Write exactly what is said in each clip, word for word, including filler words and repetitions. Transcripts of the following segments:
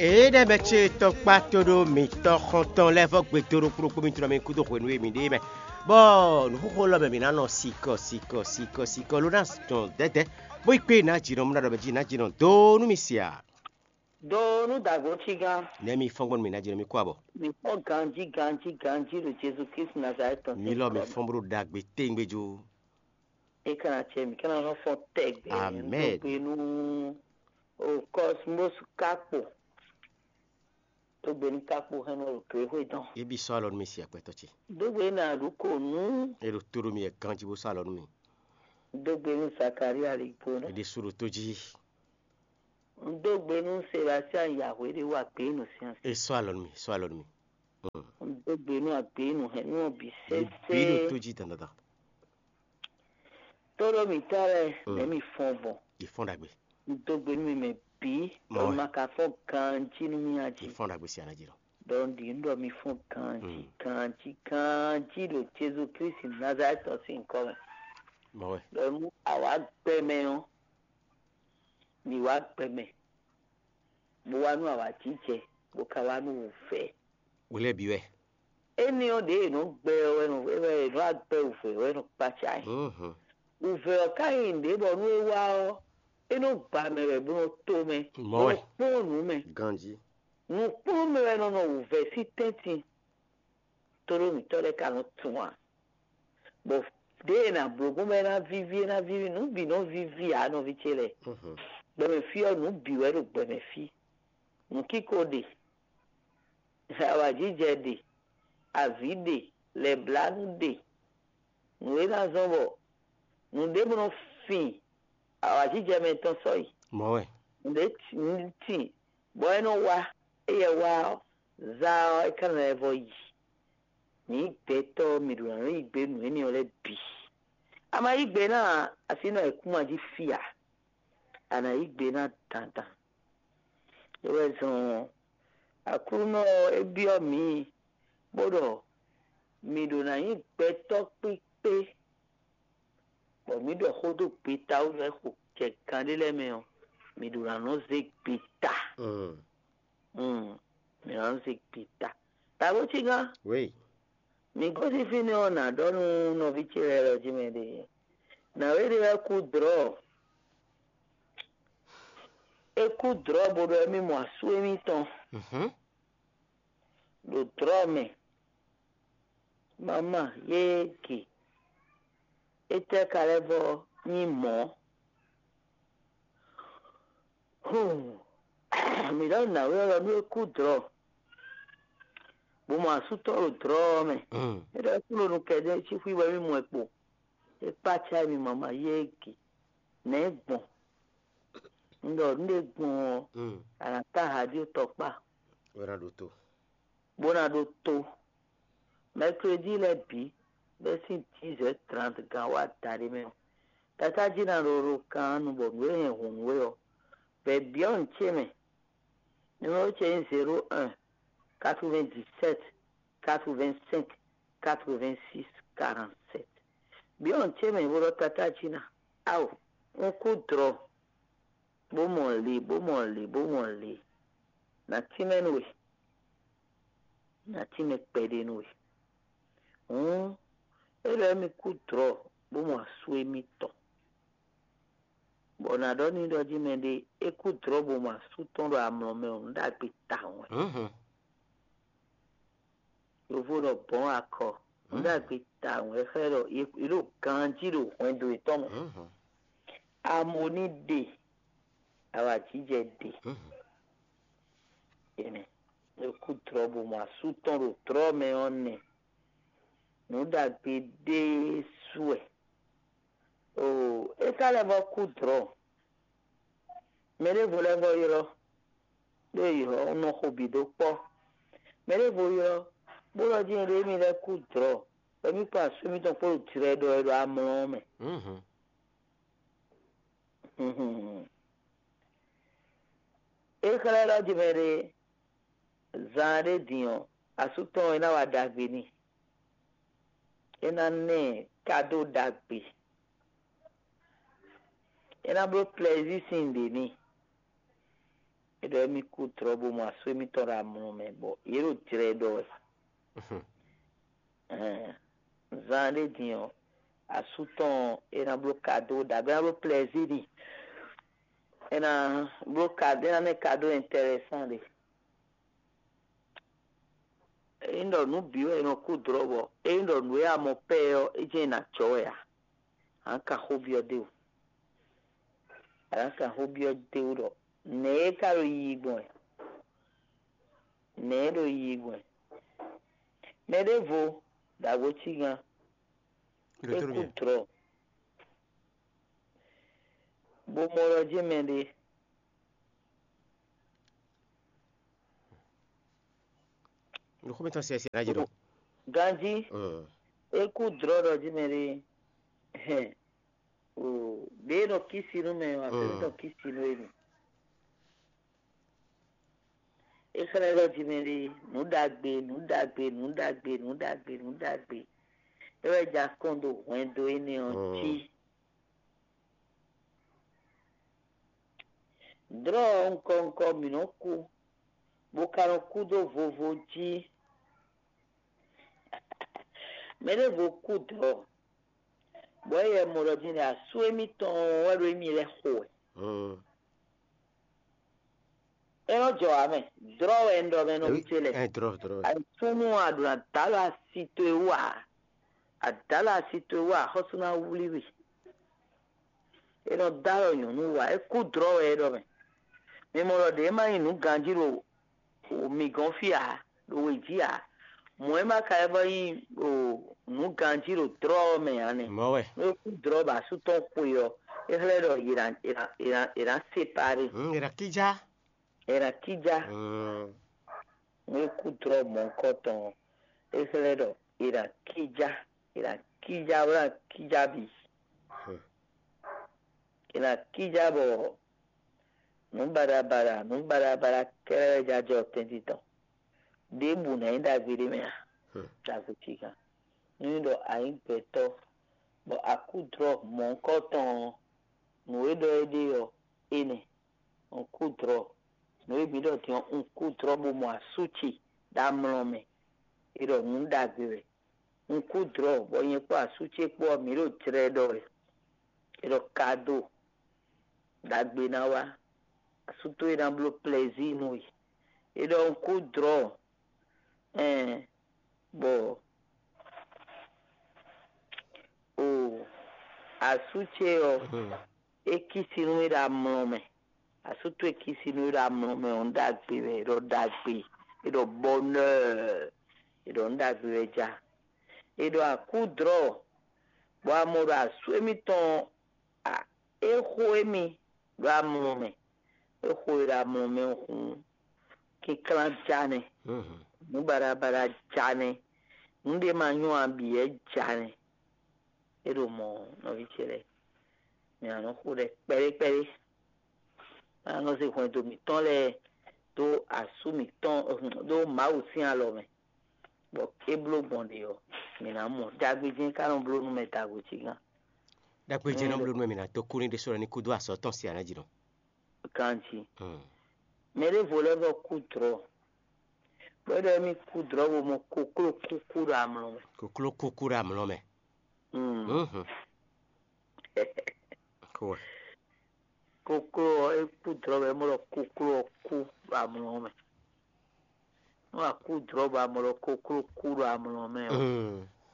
Ée ɖɛ́ mɛ ce tɔkpá tóɖó mǐtɔn xɔntɔn lɛ́ɛ vɔ́ gbe dó ɖokpó ɖokpó mì tunɔ mì kúdó hwenu e mǐ ɖe é mɛ, bɔ nǔxoxo lɔ mɛ mǐ ná nɔ sikɔ sikɔ sikɔ sikɔ ló ná dɔn dɛ̌dɛ̌, bó yi kpé nǎ jǐnɔ mú ná ɖɔ mɛ jí nǎ jǐnɔ dó nú mi sia. Do nú dǎgbó cígán. Nɛ̌ mi fɔ́n gbɔn nú mì nǎ jǐnɔ mi kú abɔ? Mi kpɔ́ ganjí ganjí ganjí ɖo Jezu Kristu Nazalɛ́ti tɔn. Mi lɔ mi fɔ́n bó ɖo ɖagbe téngbéjú. É ka ná cɛ mǐ ka ná nɔ fɔ́n tɛgbɛ. Amɛn. Dó gbe nú o Cosmos Kakpo. Dó gbe nú Kakpo hɛn nɔ ɖo Gréxwé tɔn. É bí sɔ́ alɔ nú mi si akwɛ́tɔ́ ce. Dó gbe nú Aɖǔkonu. É ɖo tó ɖó mi yɛ ganjí bó sɔ́ alɔ nú mi. Dó gbe nú Zakaria Ligbo. É ɖésú ɖo tó jí. Un dó gbe nú Sebastian Yahweh ɖé wá gbé nú sian. É sɔ́ alɔ nú mi, sɔ́ alɔ nú mi. Un dó gbe nú agbě nú hɛn nú ɔ́ bǐ sésé. Bí ɖo tó jí dandandan. Tóɖó mǐtɔn lɛ́ɛ, nɛ̌ mi fɔ́n gbɔn? Yi fɔ́n ɖagbe. Un dó gbe nú mi mɛ bǐ, ɖɔ ma ka fɔ́n ganjí nú mì a jí. Yi fɔ́n ɖagbe si anají lɔ. Ɖɔ un ɖi nǔ ɖɔ mi fɔ́n ganjí ganjí ganjí ɖo Jezu Kristi Nazalɛ́ti tɔn sín nyǐkɔ mɛ. Mɔ wɛ. Ɖɔ nú awǎ gbɛ mɛ ɔ́, mi wá gbɛ mɛ, bó wá nú awǎjijɛ, bó ka wá nú wǔvɛ́. Wělɛ́ bǐ wɛ. Énɛ́ ɔ́ ɖě è nɔ gbɛ ɔ́ wɛ nɔ wɛ è nɔ wá gbɛ wǔvɛ́ wɛ nɔ kpácá ɛ. Wǔvɛ́ ɔ́ ka nyí nǔɖé bɔ nú é wá ɔ́, é nɔ gba mɛ wɛ bó nɔ to mɛ, bó nɔ kpɔ́n nǔ mɛ. Ganjí. Nǔkplɔ́nmɛ wɛ nɔ nɔ wǔvɛ́ sín tɛ́ntin. Tóɖó mǐtɔn lɛ́ɛ ka nɔ tunwun ǎ. Bɔ ɖěe è nǎ bló gbɔn bɔ é ná víví é ná víví nǔ bǐ nɔ víví ǎ nɔví ce lɛ́ɛ. Gbɛmɛ fí ɔ́ nǔ bǐ wɛ ɖo gbɛmɛ fí. Nǔkíko ɖe, awǎjijɛ ɖe, avǐ ɖe, lɛ̌blánú ɖe. Nǔ e ná zɔ́n bɔ nǔɖé bó nɔ fin awǎjijɛ mɛ tɔn sɔ́yi. Mɔ̌ wɛ. Nǔɖé tin bɔ é nɔ wá, éyɛ́ wá ɔ́, zá ɔ́, é ka ná lɛ́ vɔ yi. Mǐ gbɛtɔ́ mǐ ɖo ná nɔ yí gbe nǔ énɛ́ ɔ́ lɛ́ɛ bǐ. A ma yí gbe ná ǎ, así nɔ ayǐkúngban jí fí ǎ. A nǎ yí gbe ná dandan. É wɛ zɔn ɔ́, Aklúnɔ ɔ́ é byɔ́ mǐ bó ɖɔ mǐ ɖo ná nyí gbɛtɔ́ kpíkpé, bɔ mǐ ɖɔ xó dó gbeta wú nú é xo kɛ gan ɖé lɛ́ɛ mɛ ɔ́, mǐ ɖo ná nɔ zé gbeta. Mǐ ná nɔ zé gbeta. Tǎgbó cígán. Wéyi. Mǐ gosín fínɛ́ ɔ́, nǎ ɖɔ nú nɔví ce lɛ́ɛ lɔ jí mɛ ɖé. Nǎwe ɖé wɛ kú dlɔ̌. É kú dlɔ̌ bó ɖɔ émí mɔ asú émítɔn ɖo dlɔ̌ mɛ. Mama yéé ge. Étɛ́ ka lɛ́ vɔ nyí mɔ̌? Hun, mǐ ɖɔ nǎwe ɔ́ lɔ nú é kú dlɔ̌, bó mɔ asú tɔn ɖo dlɔ̌ ɔ́ mɛ. É ɖɔ é kú ɖo nukɛn ɖé cí xwí wɛ mì mɔ ɛ kpo. É kpácá mì mama yéé ge. Nɛ̌ gbɔn? Un ɖɔ nǔ ɖé gbɔn ɔ́, a nǎ tá ha ɖí tɔkpá. Bó ná ɖó tó. Bó ná ɖó tó. Mɛklódí lɛ́ɛ bǐ bɛ́ sín dix heures trente gan wá adaɖé mɛ ɔ́, tatá jí ná ɖo ɖo kan nu bɔ nǔ e hɛn hǔn nú we ɔ́, vɛ̌ byɔ́ nǔ ce mɛ. Numéro ce nyí zéro un, quatre-vingt-dix-sept, quatre-vingt-cinq, quatre-vingt-six, quarante-sept. Byɔ́ nǔ ce mɛ bó ɖɔ tatá jí ná. Ao, un kú dlɔ̌, bó mɔ le, bó mɔ le, bó mɔ le. Nǎ tínmɛ nú we. Nǎ tínmɛ kpɛɖé nú we. Hǔn é ɖɔ émí kú dlɔ̌ bó mɔ asú émítɔn. Bɔ nǎ ɖɔ n'i ɖɔ jí mɛɖé é kú dlɔ̌ bó mɔ asú tɔn ɖo amlɔ mɛ ɔ́, nǔ ɖagbe tawun wɛ. Yovo ɖɔ bɔ̌n akɔ, nǔ ɖagbe tawun wɛ xlɛ́ ɖɔ è ɖo ganjí ɖo hwɛndo yětɔn mɛ. Amoni ɖe, awǎjijɛ ɖe. Enɛ, é kú dlɔ̌ bó mɔ asú tɔn ɖo dlɔ̌ mɛ ɔ́ nɛ. Nǔ ɖagbe ɖésú wɛ. Oo, é ka lɛ́ vɔ kú dlɔ̌. Mɛ ɖěvo lɛ́ vɔ ylɔ́, ɖó è ylɔ́ nɔ xo bǐ dó kpɔ́. Mɛ ɖěvo ylɔ́, bó ɖɔ jí nyɛɖée mì lɛ́ kú dlɔ̌, bɔ mì kpɔ́n asú mitɔn kpó ɖo jlɛ ɖɔ wɛ ɖo amlɔ ɔ́ mɛ. É xlɛ́ ɖɔ jí mɛɖé zan ɖé din ɔ́, asú tɔn ɔ́, é ná wa ɖagbe n'i. É ná ná ɛ kadó ɖagbe. É ná bló plɛzíi sín nǔɖé n'i. É ɖɔ émí kú drɔ̌ bó mɔ asú émítɔn ɖo amlɔ mɛ, bɔ yě ɖo jlɛ ɖɔ wɛ. Ɛhɛn, zan ɖé din ɔ́, asú tɔn ɔ́, é ná bló kado ɖagbe, é ná bló plɛzír n'i. É ná bló kado, é ná ná ɛ kado intɛrɛsán ɖé. Ényí ɖɔ nǔ bǐ wɛ è nɔ kú drɔ̌ bɔ ényí ɖɔ nǔ e a mɔ pɛ́ ɔ́, é jɛ́n è nǎ jɔ wɛ ǎ. A nǎ kan xó byɔ́ d'é wú. A nǎ kan xó byɔ́ d'é wú ɖɔ nɛ̌ é ka ɖo yiyi gbɔn wɛ? Nɛ̌ é ɖo yiyi gbɔn wɛ? Mɛ ɖěvo ɖo agbo cí gán, é kú drɔ̌, bó mɔ ɖɔ jɛ́n mɛɖé. Ɖo xó mǐtɔn siɛsiɛ ná jɛ ɖɔ. Ganjí, é kú drɔ̌ ɖɔ jí mɛ ɖé. Hɛn, o, ɖě e nɔ kísi nú mɛ ɔ́, afɛ nɔ kísi nú émi. É xlɛ́ ɖɔ jí mɛ ɖé, nǔ ɖagbe, nǔ ɖagbe, nǔ ɖagbe, nǔ ɖagbe, nǔ ɖagbe. É wɛ ja kɔn ɖo hwɛndo énɛ́ ɔ́ jí. Drɔ̌ ɔ́, ŋkɔ ŋkɔ mǐ nɔ́ kú, bó ka nɔ kú dó vovo jí. Mɛ ɖěvo kú drɔ̌, bɔ é yɛ mɔ ɖɔ din ɖɔ asú émítɔn wɛ ɖo émí lɛ́ɛ xo wɛ. É nɔ jɔ ǎ mɛ, drɔ́ wɛ un ɖɔ mɛ nɔví ce lɛ́ɛ. Ɛ drɔ́ drɔ́. Súnnu a ɖo na dǎ lɔ asi towe wú ǎ. A dǎ lɔ asi towe wú ǎ, xɔ́sú ná wlí we. É nɔ dá lɔ nyɔ̌nu wú ǎ, é kú drɔ́ wɛ é ɖɔ mɛ. Mi mɔ ɖɔ ɖě má nyí nǔ ganjí ɖo mǐ gɔ́n fí ǎ, ɖo wě jí ǎ. Mɔ̌ é má ka lɛ́ vɔ́ nyí nǔ ganjí ɖo drɔ́ ɔ́ mɛ ǎ nɛ́. Mɔ̌ wɛ. Nú é kú drɔ́ bɔ asú tɔn xwe ɔ́, é xlɛ́ ɖɔ è nǎ è nǎ è nǎ è nǎ sepaɖé. Hǔn è nǎ kíjá. È nǎ kíjá. Hǔn. Nú é kú drɔ́ mɔ̌hunkɔtɔn ɔ́, é xlɛ́ ɖɔ è nǎ kíjá, è nǎ kíjá bó ná kíjá bǐ. È nǎ kíjá bɔ nǔ baɖabaɖa, nǔ baɖabaɖa kɛ́ɖɛ́ wɛ jajɔ tɛ́ntin tɔn. Ɖěbǔ ná nyí ɖagbe ɖé mɛ ǎ, ɖagbe cíkan. Nú nyí ɖɔ a nyǐ gbɛtɔ́, bɔ a kú drɔ́ mɔ̌hunkɔtɔn ɔ́, nǔ e ɖɔ é ɖe ɔ́, énɛ́. Un kú drɔ̌, nǔ e mǐ ɖɔ din ɔ́, un kú drɔ̌ bó mɔ asú ce ɖo amlɔ mɛ. É ɖɔ nǔ ɖagbe wɛ. Un kú drɔ̌, bɔ nyɛ kpó asú ce kpó ɔ́, mǐ ɖo jlɛ ɖɔ wɛ. É ɖɔ kado ɖagbe ná wá. Asú towe ná bló plɛzír nú we. É ɖɔ un kú drɔ̌, ɛn, bɔ o asú ce ɔ́, é kísi nú we ɖo amlɔ mɛ. Asú towe kísi nú we ɖo amlɔ mɛ ɔ́, nǔ ɖagbe wɛ, é ɖɔ ɖagbe, é ɖɔ bonheur, é ɖɔ nǔ ɖagbe wɛ ja. É ɖɔ a kú drɔ̌, bɔ a mɔ ɖɔ asú émítɔn ɔ́, é xo émí ɖo amlɔ mɛ. É xo e ɖo amlɔ mɛ ɔ́ hǔn, kínklán ja nɛ́, nǔ baɖabaɖa ja nɛ́, nǔ ɖé ma nyɔ́ ǎ bǐ wɛ ja nɛ́. É ɖo mɔ̌, nɔví ce lɛ́ɛ, mǐ nǎ nɔ xo ɖɛ kpɛɖé kpɛɖé. Má nɔ zé hwɛndo mǐtɔn lɛ́ɛ dó asú mǐtɔn, dó Mawu sín alɔ mɛ, bɔ é bló gbɔn ɖe ɔ́, mǐ ná mɔ. Ɖagbe jɛ́n ka nɔ bló nú mɛ ɖagbe cí gán. Ɖagbe jɛ́n nɔ bló nú mɛ mǐ ná dó kú ní ɖésú ɔ́ ní kú dó azɔ̌ tɔn siá ná jí nɔ. Ganjí. Mɛ ɖěvo lɛ́ɛ vɔ kú drɔ̌, bɔ é ɖɔ émí kú drɔ̌ bó mɔ kokló kúkú ɖo amlɔ mɛ. Kokló kúkú ɖo amlɔ mɛ. Kokló ɔ́, é kú drɔ̌ bɔ é mɔ ɖɔ kokló ɔ́ kú ɖo amlɔ mɛ. Nú a kú drɔ̌ bɔ a mɔ ɖɔ kokló kú ɖo amlɔ mɛ ɔ́,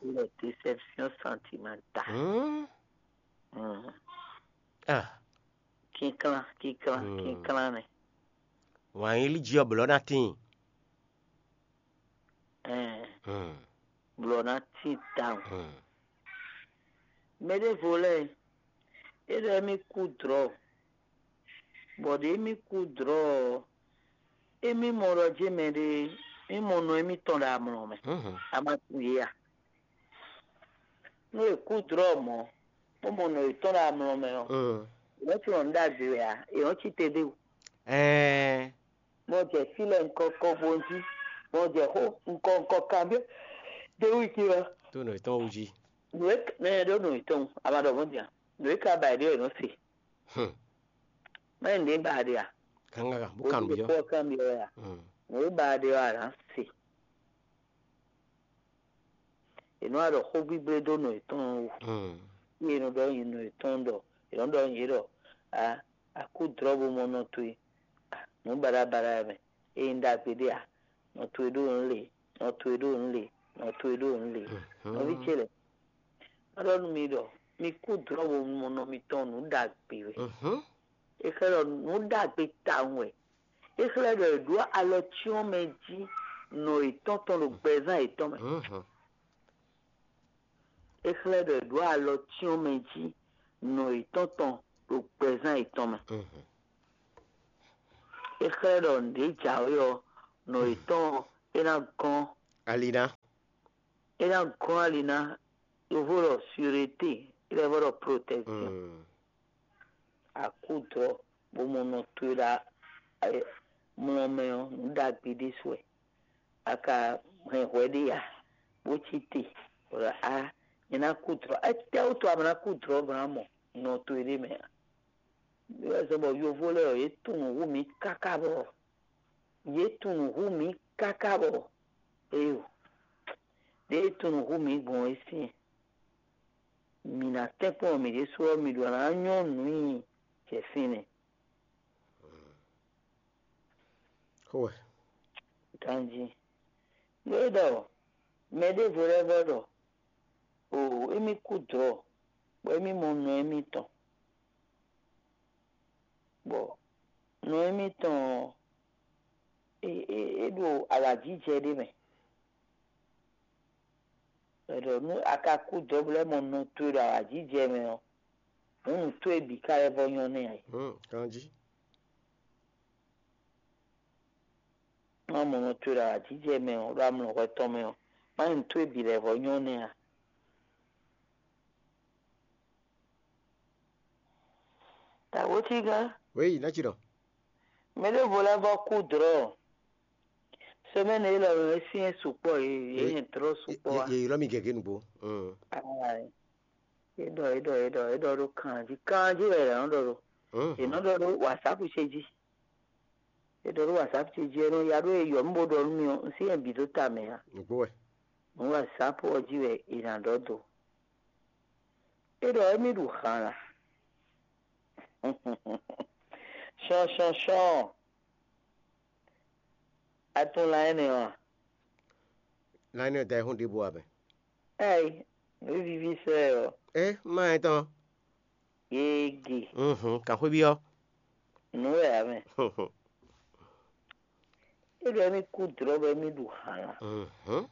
é lɛ déception sentimentale. Kínklán, kínklán, kínklán nɛ. Wǎn yílí jí ɔ́ blɔ̌ ná tíin. Blɔ̌ ná tín tawun. Mɛ ɖěvo lɛ́ɛ, é ɖɔ émí kú drɔ̌, bɔ ɖě émí kú drɔ̌ ɔ́, émí mɔ ɖɔ jɛ́n mɛɖé, mí mɔ nɔ émítɔn ɖo amlɔ mɛ. A ma tunwun yě a? Nú è kú drɔ̌ mɔ̌, bó mɔ nɔ yětɔn ɖo amlɔ mɛ ɔ́, è nɔ́ tunwun nǔ ɖagbe wɛ ǎ, è nɔ́ cí te ɖé wú. Ɛɛ, Bɔ jɛ fí lɛ ŋkɔ kɔ bo jí, bɔ jɛ xó ŋkɔ ŋkɔ kanbyɔ́ ɖé wú jí ɔ́. Tó nɔ yětɔn wú jí. Nǔ e mɛ ɖó nǔ yětɔn, a ma ɖɔ mɔ̌ din a? Nǔ e ka ba è ɖe ɔ́, è nɔ se. Hmm. Mɛ nǔɖé ba a ɖe a? Kangaga bó kan nǔ byɔ́. Kpɔ́ kanbyɔ́ wɛ a? Nǔ e ba ɖe ɔ́, a nǎ se. È nɔ wá ɖɔ xó gbígblédó nɔ yětɔn wú. Yě nɔ ɖɔ nyi nɔ yětɔn ɖɔ, yě nɔ ɖɔ nyi ɖɔ a a kú dlɔ́ bo mɔ nɔ towe. Nǔ baɖabaɖa wɛ mɛ. Ényí ɖagbe ɖé a, nɔ towe ɖó nǔ le, nɔ towe ɖó nǔ le, nɔ towe ɖó nǔ le. Nɔví ce lɛ́ɛ, má ɖɔ nú mi ɖɔ mi kú dlɔ́ bo mɔ nɔ mitɔn nǔ ɖagbe wɛ. É xlɛ́ ɖɔ nǔ ɖagbe tawun wɛ. É xlɛ́ ɖɔ è ɖǒ alɔ cyɔ́n mɛ jí nɔ yětɔn tɔn ɖo gbɛzán yětɔn mɛ. É xlɛ́ ɖɔ è ɖǒ alɔ cyɔ́n mɛ jí nɔ yětɔn tɔn ɖo gbɛzán yětɔn mɛ. É xlɛ́ ɖɔ nǔɖé jǎwe ɔ́, nɔ yětɔn ɔ́, é ná gɔ́n Ali ná. É ná gɔ́n ali ná. Yovo ɖɔ sûreté, é lɛ́ vɔ ɖɔ protection. Akúdrɔ bó mɔ nɔ towe ɖo mlɔ mɛ ɔ́, nǔ ɖagbe ɖésú wɛ. A ka hɛn hwɛ ɖé ya, bó cí te, bɔ a nyɛ ná kú dlɔ́. Étɛ́wútu a ma ná kú dlɔ́ bɔ ná mɔ nɔ towe ɖé mɛ ǎ? Wɛ zɔ́n bɔ yovó lɛ́ɛ ɔ́, yě tunwun hú mǐ káká bɔ yě tunwun hú mǐ káká bɔ éyo ɖěe tunwun hú mǐ gbɔn é syɛ́n. Mǐ ná tɛ́nkpɔ́n mǐ ɖésú ɔ́, mǐ ɖó ná nyɔ́ nǔ nyi jɛ fínɛ́. Xó wɛ. Ganjí. Nú é ɖɔ mɛ ɖěvo lɛ́ɛ vɔ ɖɔ, o émí kú dlɔ̌, bɔ émí mɔ nɔ émítɔn, bɔ nɔ émítɔn ɔ́, é é é ɖo awǎjijɛ ɖé mɛ. È ɖɔ nú a ka kú dɔ̌bǔ lɛ́ɛ mɔ nɔ towe ɖo awǎjijɛ mɛ ɔ́, hǔn nǔ towe bǐ ka lɛ́ vɔ nyɔ́ nɛ́ ǎ. Ganjí. Má mɔ nɔ towe ɖo awǎjijɛ mɛ ɔ́, ɖo amlɔ hwɛ tɔn mɛ ɔ́, má nyí nǔ towe bǐ lɛ́ vɔ nyɔ́ nɛ́ ǎ. Tawǒtígán. Wěyi, ná ci ɖɔ. Mɛ ɖěvo lɛ́ɛ vɔ kú dlɔ̌. Semɛ́ni élɔ́ mɛ é syɛ́n sukpɔ́, yě yě nyɛ dlɔ́ sukpɔ́ a. Yě ylɔ́ mì gěgé nǔgbó. Aa, é ɖɔ é ɖɔ é ɖɔ é ɖɔ ɖó kanjí kanjí wɛ è nɔ ɖɔ ɖó. È nɔ ɖɔ ɖó WhatsApp ce jí. É ɖɔ ɖó WhatsApp ce jí, é nɔ ya ɖó é yɔ mì bó ɖɔ nú mì ɔ́, un syɛ́n bǐ dó ta mɛ ǎ. Nǔgbó wɛ. Nǔ WhatsApp ɔ́ jí wɛ è nǎ ɖɔ dó. É ɖɔ émí ɖu han a? Shɔnshɔnshɔn. A tunwun lan énɛ́ ɔ́ a? Lan énɛ́ ɔ́ da ayihún ɖěbǔ ǎ mɛ. Ɛ́i, nǔ víví sɛ́ ɔ́. É má nyɛ tɔn. Yége. Mhm, kan xwé byɔ́. Nǔ wɛ ǎ mɛ. É ɖɔ émí kú dlɔ̌ bɔ émí ɖu han lan. Mhm.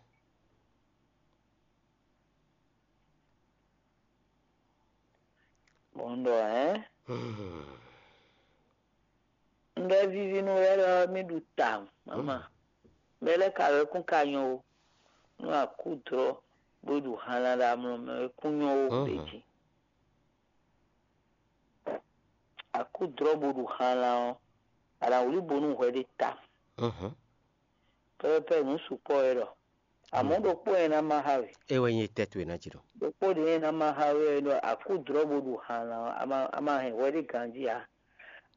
Bɔ un ɖɔ hɛ̌n. Mhm. Un ɖɔ é víví nú we ɖɔ mì ɖu tawun, mama. Mɛ lɛ́ɛ ka wɛ kún ka nyɔ ó. Nú a kú dlɔ́ bó ɖu hanlan ɖo amlɔ mɛ wɛ kún nyɔ ó ɖě jí. A kú dlɔ́ bó ɖu hanlan ɔ́, a nǎ wlí bo nú hwɛ ɖé ta. Pɛ́pɛ́pɛ́ nǔ sukpɔ́ wɛ ɖɔ. Amɔ̌ ɖokpó nyɛ ná má xá we. É wɛ nyí tɛ́ towe ná jǐ ɖɔ. Ɖokpó ɖě nyɛ ná má xá we wɛ ɖɔ a kú dlɔ́ bó ɖu hanlan ɔ́, a ma a ma hɛn hwɛ ɖé ganjí ǎ.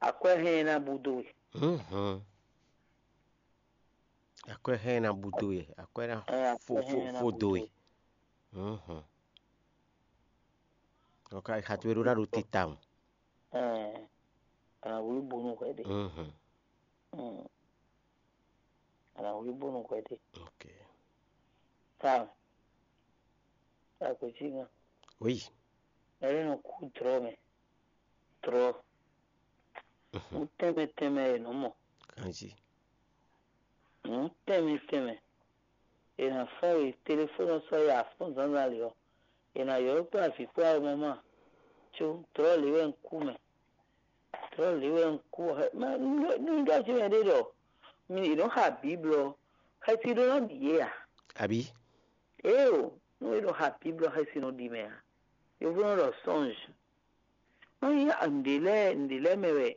Akwɛ́ hɛn ɛ ná bú dó we. Mhm. Akwɛ́ hɛn ɛ ná bú dó we, akwɛ́ ná Ɛ, akwɛ́ fó hɛn fó ɛ ná fó bú dó dó we. We. Mhm. Ɔka xa towe ɖó ná ɖo titawun. Ɛ, a nǎ wlí bo nú hwɛ ɖé. Mhm. Mm. A nǎ wlí bo nú hwɛ ɖé. Ok. Tawun. Akwɛ́ cí ŋa. Oui. Ɛɖé nɔ kú dlɔ́ mɛ. Dlɔ́. Mhm. Nǔ tɛnmɛ tɛnmɛ e nǔ mɔ. Kanjí. Nǔ tɛnmɛ tɛnmɛ. È nǎ fɔ́n we telefónu ɔ́ sɔ́ yi afɔ́n zǎnzǎn lě ɔ́, è nǎ ylɔ́ kpó avǐ kpó awɔmama, có dlɔ̌ lě wɛ un kú mɛ. Dlɔ̌ lě wɛ un kú ɔ́, nú ɖɔ jí mɛ ɖé ɖɔ mi è nɔ́ xa Bǐblu ɔ́, xɛsi ɖó ná ɖi yě ǎ. Abǐ? Éeǒ, nú è nɔ xa Bǐblu ɔ́, xɛsi nɔ ɖi mɛ ǎ. Yovó nɔ ɖɔ sɔ́nj. Nú nyí nǔɖé lɛ́ɛ nǔɖé lɛ́ɛ mɛ wɛ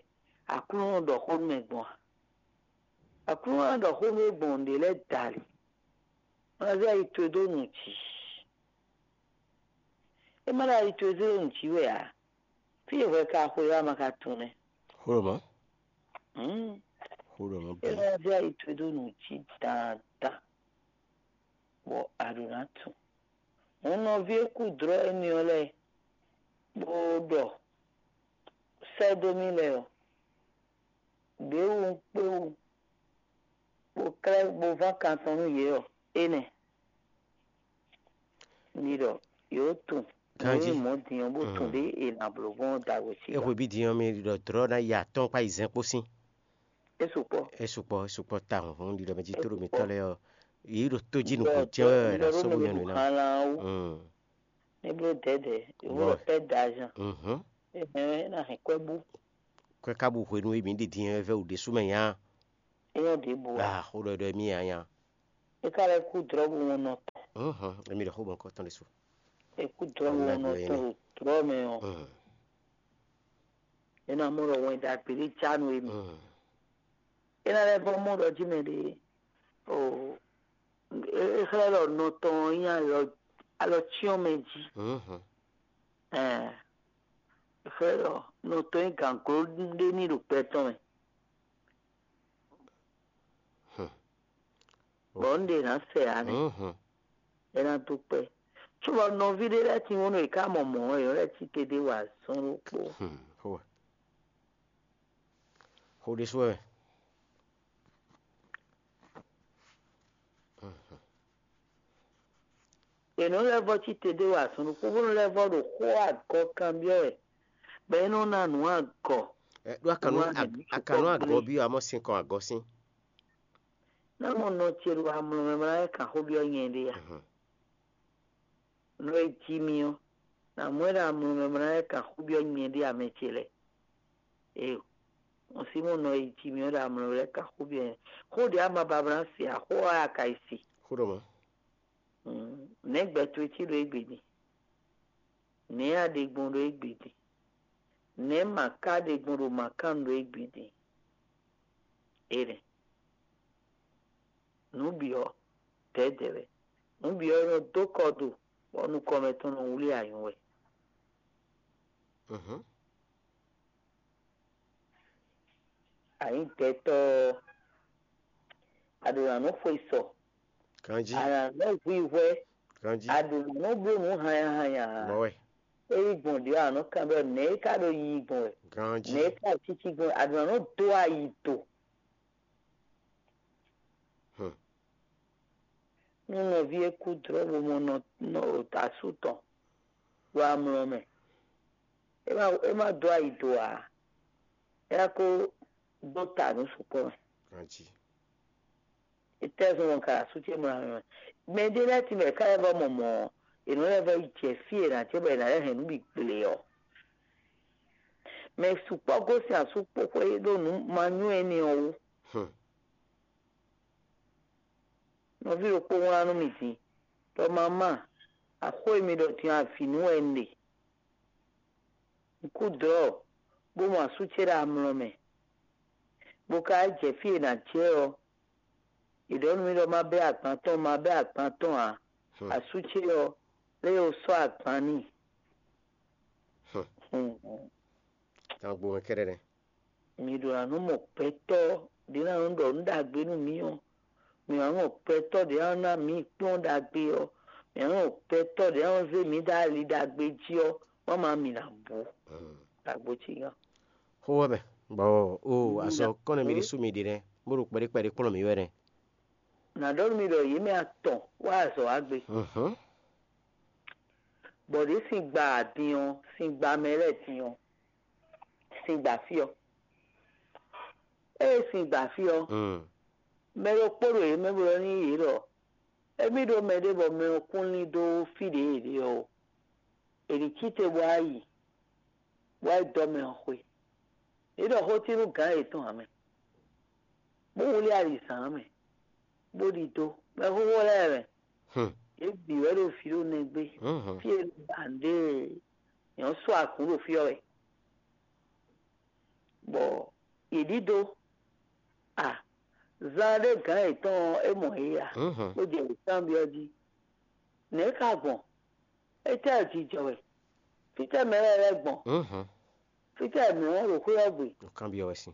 Aklúnɔ ɖɔ xó nú mɛ gbɔn a? Aklúnɔ ná ɖɔ xó nú we gbɔn nǔɖé lɛ́ɛ dali. Má ná zé ayi towe dó nǔ jí. É má ɖo ayi towe zé ɖó nǔ jí wɛ ǎ. Fí e hwɛ ka xwe ɔ́, a ma ka tunwun nɛ́. Xó ɖo mɔ̌. Xó ɖɔ mɔ̌ bǐ. Élɔ́ ɔ́ vɛ́ yi towe dó nǔ jí dandan, bɔ a ɖǒ ná tunwun. Hǔn nɔví e kú dlɔ́ énɛ́ ɔ́ lɛ́ɛ, bó ɖɔ sɛ́ dó mì lɛ́ɛ ɔ́, ɖěwu un kpé wú, bó klɛ́ bó ván kan tɔn nú yě ɔ́, énɛ́. Mi ɖɔ yǒ tunwun. Ganjí. Nǔ mɔ̌ din ɔ́, bó tunwun ɖě è nǎ bló gbɔn ɔ́ da wǒ cí. É hwe bí din ɔ́, mi ɖɔ dlɔ̌ ná yi atɔ́ɔ́n kpó ayizɛ́n kpó sín. É sukpɔ́. É sukpɔ́, é sukpɔ́ tawun. Hún ɖiɖɔ mɛ jí tó ɖo mitɔ́ lɛ́ɛ ɔ́, yě ɖo tó jí nǔgbó jɛ́n wɛ wɛ ɖo asɔ́ bó nyɔ́ nǔ ná. Ní bló dɛ̌dɛ̌, yǒ wɔ pɛ́ da azan. Mhm. É hɛn ná hɛn kwɛ́ bú. Kwɛ́ ka bú hwenu e mǐ ɖi din ɔ́ vɛ́ wǔ ɖésú mɛ nya. É nyɔ́ ɖěbǔ ǎ. Ah, xó ɖɔ ɖɔ mì nya nya. É ka lɛ́ kú dlɔ́ bó wɔn nɔ tɔn. Mhm. Émi ɖɔ xó bɔ nukɔn tɔn ɖésú. É kú dlɔ́ bó wɔn nɔ tɔn ɖo dlɔ́ mɛ ɔ́. Mhm. É ná mɔ ɖɔ wɛn ɖagbe ɖé já nú émi. Mhm. É ná lɛ́ vɔ́ mɔ ɖɔ jí mɛ ɖě. O, é xlɛ́ ɖɔ nɔ tɔn ɔ́ nyí alɔ cyɔ́n mɛ jí. Mhm. Ɛɛ, é xlɛ́ ɖɔ nɔ tɔn nyí gǎngló ɖé ní ɖo gbɛ tɔn mɛ. Hmm. Bɔ un ɖe ná sɛ ǎ nɛ́. Mhm. É ná dó kpɛ́. Cóbɔ nɔví ɖé lɛ́ɛ tín wónú è ká mɔ mɔ̌ ɔ́, è nɔ lɛ́ cí te ɖé wa azɔn ɖokpó. Hmm. Xó wɛ. Xó ɖésú wɛ. Mhm. È nɔ lɛ́ vɔ́ cí te ɖé wa azɔn ɖokpó, bó nɔ lɛ́ vɔ́ ɖo xó agɔ kanbyɔ́ wɛ, bɔ é nɔ ná nǔ agɔ. Ɛ, ɖó akanu, Nú ag-, agɔ akanu agɔ gbé. Bí amɔ sin kɔn agɔ sín. Ná mɔ nɔ ce ɖo amlɔ mɛ mlá wɛ kan xó byɔ́ nyɛ ɖé a? Mhm. Nɔ e jí mì ɔ́, nǎ mɔ ɛ ɖo amlɔ mɛ mlá wɛ kan xó byɔ́ nyɛ ɖé amɛ ce lɛ́ɛ. Ee, un sí mɔ nɔ e jí mì ɔ́ ɖo amlɔ mɛ lɛ́ɛ kan xó byɔ́ nyɛ. Xó ɖě ama ba mlá se ǎ, xó ɔ́ a ka yi se. Xó ɖɔ mɔ̌. Mm, nɛ̌ gbɛ towe cí ɖo égbé din? Nɛ̌ a ɖe gbɔn ɖo égbé din? Nɛ̌ ma ka ɖe gbɔn ɖo ma kan ɖo égbé din? Énɛ́. Nǔ bǐ ɔ́, dɛ̌dɛ̌ wɛ. Nǔ bǐ ɔ́ nɔ dó kɔ do, bɔ nukɔn mɛtɔn nɔ wlí anyǔ wɛ. Mhm. Anyǐgbɛ́tɔ́ ɔ́, a ɖǒ ná nɔ xwe sɔ, Ganjí. A nǎ nɔ hwihwɛ́, Ganjí. A ɖǒ ná nɔ bló nǔ hanyahanya ǎ. Mɔ̌ wɛ. É yí gbɔn ɖě a nɔ kan ɖɔ nɛ̌ é ka ɖo yiyi gbɔn wɛ? Ganjí. Nɛ̌ é ka ɖo cící gbɔn wɛ? A ɖǒ ná nɔ dó ayi do. Hmm. Nú nɔví e kú dlɔ́ bo mɔ nɔ, nɔ asú tɔn ɖo amlɔ mɛ, é má, é má dó ayi do ǎ. É ná ko dó ta nǔ sukpɔ́ mɛ. Ganjí. Étɛ́ zɔn ka asú ce mlá mɛ? Mɛ ɖé lɛ́ɛ tɛ́nmɛ ká lɛ́ vɔ mɔ mɔ̌ ɔ́, è nɔ lɛ́ vɔ yi jɛ fí e è nǎ jɛ bɔ è nǎ lɛ́ hɛn nǔ bǐ gble ɔ́. Mɛ sukpɔ́ gosín asú kpó xwé ɖó nǔ manyú énɛ́ ɔ́ wú. Hmm. Nɔví ɖokpó wlán nú mì din, ɖɔ mamá, axó e mi ɖɔ din avǐ nú wɛ un ɖe. Un kú dlɔ̌, bó mɔ asú ce ɖo amlɔ mɛ, bó ka jɛ fí e è nǎ jɛ ɔ́, è ɖɔ nú mì ɖɔ má bɛ́ agban tɔn, má bɛ́ agban tɔn ǎ. Hmm. Asú ce ɔ́, lé o sɔ́ agban n'i. Hmm. Hmm. Tagbo mɛ kɛ́ɖɛ́ nɛ́. Mi ɖo ná nɔ mɔ gbɛtɔ́ ɖě ná nɔ ɖɔ nǔ ɖagbe nú mì ɔ́, mi wǎ mɔ gbɛtɔ́ ɖě ná ná mǐ kplɔ́n ɖagbe ɔ́, mi wǎ mɔ gbɛtɔ́ ɖě ná nɔ zé mǐ ɖó ali ɖagbe jí ɔ́, wǎ ma mì nǎ bú. Tagbo cí gán. Xó wɛ mɛ, bɔ o azɔ kɔn nɛ mi ɖi sú mi ɖi nɛ, bó ɖo kpɛɖé kpɛɖé kplɔ́n mi wɛ nɛ. Nǎ ɖɔ nú mi ɖɔ yě mɛ atɔn wá azɔ̌ wá gbe. Mhm. Bɔ ɖě sin gba din ɔ́, sin gba mɛ lɛ́ɛ din ɔ́, sin gba fí ɔ́. Ée sin gba fí ɔ́, Mm. mɛ ɖokpó ɖo yě mɛ bó ɖɔ n'i yě ɖɔ émí ɖó mɛɖé bɔ mɛ ɔ́ kún lín dó fí ɖě yě ɖe ɔ́ ó. È nǐ cí te bó wá yi, bó wá yi dɔ́ mɛ ɔ́ xwé. Yě ɖɔ xó cí nú gǎn yětɔn ǎ mɛ, bó wlí alizǎn ǎ mɛ, bó ɖidó mɛxóxó lɛ́ɛ mɛ. Hmm. Yě bǐ wɛ ɖo vǐ ɖo nɛgbé. Mhm. Fí e ba nǔɖé nyɔ̌ sɔ́ akǔ ɖo fí ɔ́ wɛ. Bɔ yě ɖidó a zan ɖé gǎn yětɔn ɔ́, é mɔ yě a Mhm. bó jɛ yě kanbyɔ́ jí. Nɛ̌ ka gbɔn? Étɛ́ jijɔ wɛ? Fítɛ́ mɛ lɛ́ɛ lɛ́ gbɔn? Mhm. Fítɛ́ mɛ ɔ́ ɖo xwé ɔ́ gbe? Ɖo kanbyɔ́ wɛ sín.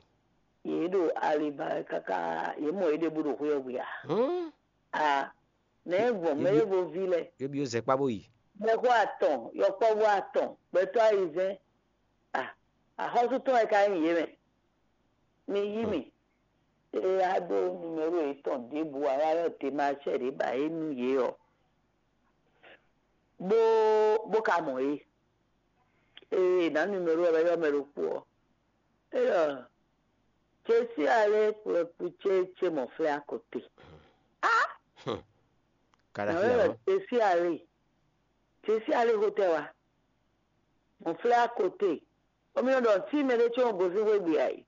Yě ɖo ali ba wɛ káká, yě mɔ yě ɖěbǔ ɖo xwé ɔ́ gbe ǎ. Hmm. A nɛ̌ gbɔn mɛ ɖěvo ví lɛ́ɛ? Yóbi ó zɛ kpá bó yi. Mɛxó atɔn, yɔkpɔ́vú atɔn, gbɛtɔ́ ayizɛ́n. A axɔ́sú tɔn wɛ ka nyí yě mɛ. Mi yí mì. Ée a ɖó numero yětɔn ɖěbǔ ǎ, wá ɖɔ demarchɛ ɖě ba é nú yě ɔ́, bó bó ka mɔ yě. Ée nǎ numero ɔ́ wɛ ylɔ́ mɛ ɖokpó ɔ́, é ɖɔ Jesí alé kplɔ́kpú ce ce mɔ flɛ́ akɔte. Á! Nǎ wɛ ɖɔ Jesí alé. Jesí alé xotɛ wa. Mɔ flɛ́ akɔte. Omi nɔ ɖɔ tí mɛ ɖé tsɔ́n gosín xwé gbe ǎ é.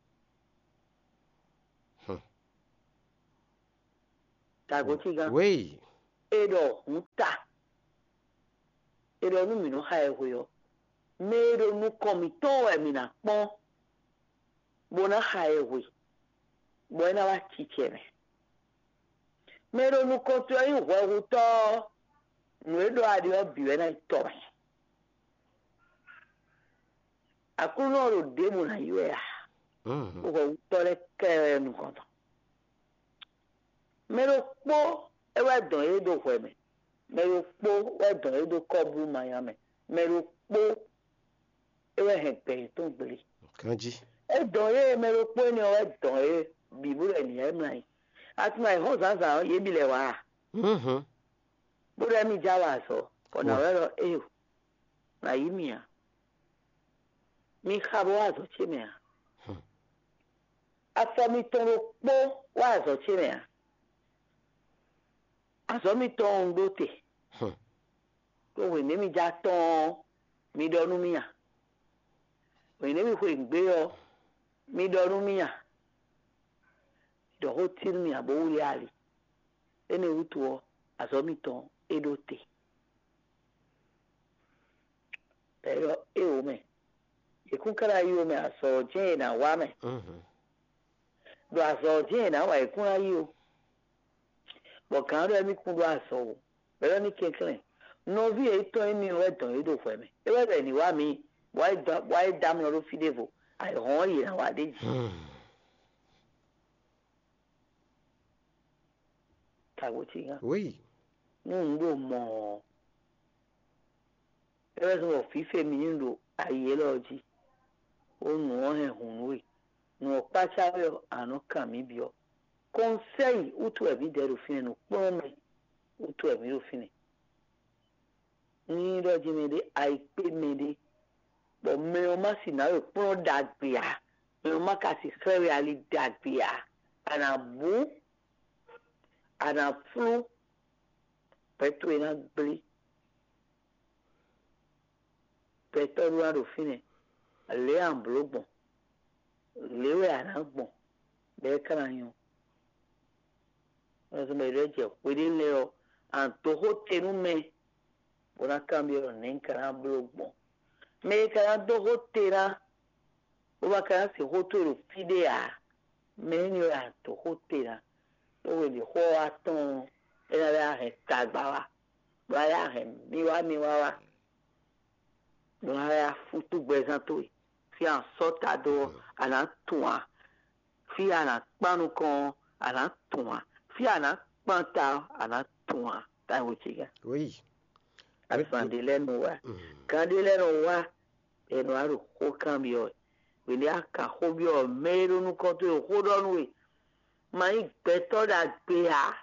Tagotí gán. Wéyi. E ɖɔ hǔn ta. E ɖɔ nú mǐ nɔ xa ɛ hwe ɔ́, mɛ e ɖo nukɔn mǐtɔn wɛ mǐ ná kpɔ́n, bó ná xa ɛ hwe, bɔ é ná wá cicɛ mɛ. Mɛ e ɖo nukɔn towe ɔ́ nyí hwɛhutɔ́ ɔ́, nǔ e ɖɔ a ɖe ɔ́ bǐ wɛ ná nyí tɔ́ mɛ. Aklúnɔ ɔ́ ɖo ɖěbǔ ná yi wɛ a? Hwɛhutɔ́ lɛ́ɛ kɛ wɛ nukɔn tɔn. Mɛ ɖokpó é wɛ dɔn yě ɖo hwɛ mɛ, mɛ ɖokpó wɛ dɔn yě ɖo kɔ́blú manya mɛ, mɛ ɖokpó é wɛ hɛn gbɛ yětɔn gblé. Ganjí. É dɔn yě mɛ ɖokpó énɛ́ ɔ́ wɛ dɔn yě bǐ bó ɖɔ nǐ yá mlá yi. Atúmọ̀ ayǐhɔ́n zǎnzǎn ɔ́, yě bǐ lɛ́ wá a? Bó ɖɔ émí já wa azɔ̌, bɔ nǎ wɛ ɖɔ éyo, nǎ yí mì ǎ. Mi xa bó wá azɔ̌ ce mɛ ǎ. Afɔ mitɔn ɖokpó wá azɔ̌ ce mɛ ǎ. Azɔ̌ mitɔn un ɖó te. Ɖó hwěnɛ́ mi já tɔ́n ɔ́, mi ɖɔ nú mì a? Hwěnɛ́ mi xwe nǔgbé ɔ́, mi ɖɔ nú mì a? Mi ɖɔ xó cí nú mì ǎ bó wlí ali. Énɛ́ wútu ɔ́, azɔ̌ mitɔn é ɖó te. Bɔ é ɖɔ éwo mɛ, yě kún ka ná yi ó mɛ, azɔ̌ ɔ́ jɛ́n è nǎ wa mɛ. Ɖo azɔ̌ ɔ́ jɛ́n è nǎ wa yě kún ná yi ó. Bɔ gǎn ɖɔ émí kún ɖó azɔ̌ ó, bɔ é ɖɔ ní kɛnklɛ́n, nɔví yětɔn émí ɔ́ wɛ dɔn yě ɖo hwɛ mɛ. É wɛ ɖɔ è nǐ wa mǐ, bɔ wá yi dɔn- bɔ wá yi dɔ́ amlɔ ɖó fí ɖěvo, ayǐhɔ́n ɔ́ yě ná wa ɖ'é jí. Tagbo ce gán. Oui. Nú un ɖo mɔ̌ ɔ́, é wɛ zɔ́n bɔ fǐfɛ́ mǐ nyí ɖo ayi élɔ́ ɔ́ jí, bó nǔ ɔ́ hɛn hǔn nú we. Nǔ ɔ́ kpácá we ɔ́, a nǎ nɔ kan mǐ byɔ́. Kɔnsɛ́yi wútu wɛ mǐdɛɛ ɖo fínɛ́, nǔkplɔ́nmɛ wútu wɛ mǐ ɖo fínɛ́. Nú nyí ɖɔ jí mɛɖé ayi kpé mɛɖé, bɔ mɛ ɔ́ má si nǎ we kplɔ́n ɖagbe ǎ, mɛ ɔ́ má ka si xlɛ́ we ali ɖagbe ǎ, a nǎ bú, a nǎ flú, gbɛ towe ná gblé. Gbɛtɔ́ ɖó ná ɖo fínɛ́, lě a nǎ bló gbɔn, lě wɛ a nǎ gbɔn, bɔ é ka ná nyɔ́. Nɔzɔ́n mɛ ɖé jɛ hweɖé lɛ́ɛ ɔ́, a nǎ dó xó te nú mɛ, bó ná kanbyɔ́ ɖɔ nɛ̌ un ka ná bló gbɔn. Mɛ e ka ná dó xó te ná, bó ma ka ná se xó towe ɖo fí ɖé ǎ, mɛ énɛ́ wɛ a nǎ dó xó te ná. Ɖó hwenu e xó ɔ́ wá tɔ́n ɔ́, é ná lɛ́ wá hɛn tagba wá, bó ná lɛ́ wá hɛn miwá miwá wá, bó ná lɛ́ wá fútú gbɛzán towe. Fí a nǎ sɔ́ ta dó ɔ́, a nǎ tunwun ǎ. Fí a nǎ kpán nukɔn ɔ́, a nǎ tunwun ǎ. Fí a nǎ kpán ta ɔ́, a nǎ tunwun ǎ. Táyǐ ce gán. Oui. Azǎn ɖé lɛ́ɛ nɔ wá, gán ɖé lɛ́ɛ nɔ wá, bɔ è nɔ wá ɖo xó kanbyɔ́ wɛ. Hwenu e a kan xó byɔ́ mɛ e ɖo nukɔn towe xó ɖɔ nú we, ma nyí gbɛtɔ́ ɖagbe ǎ,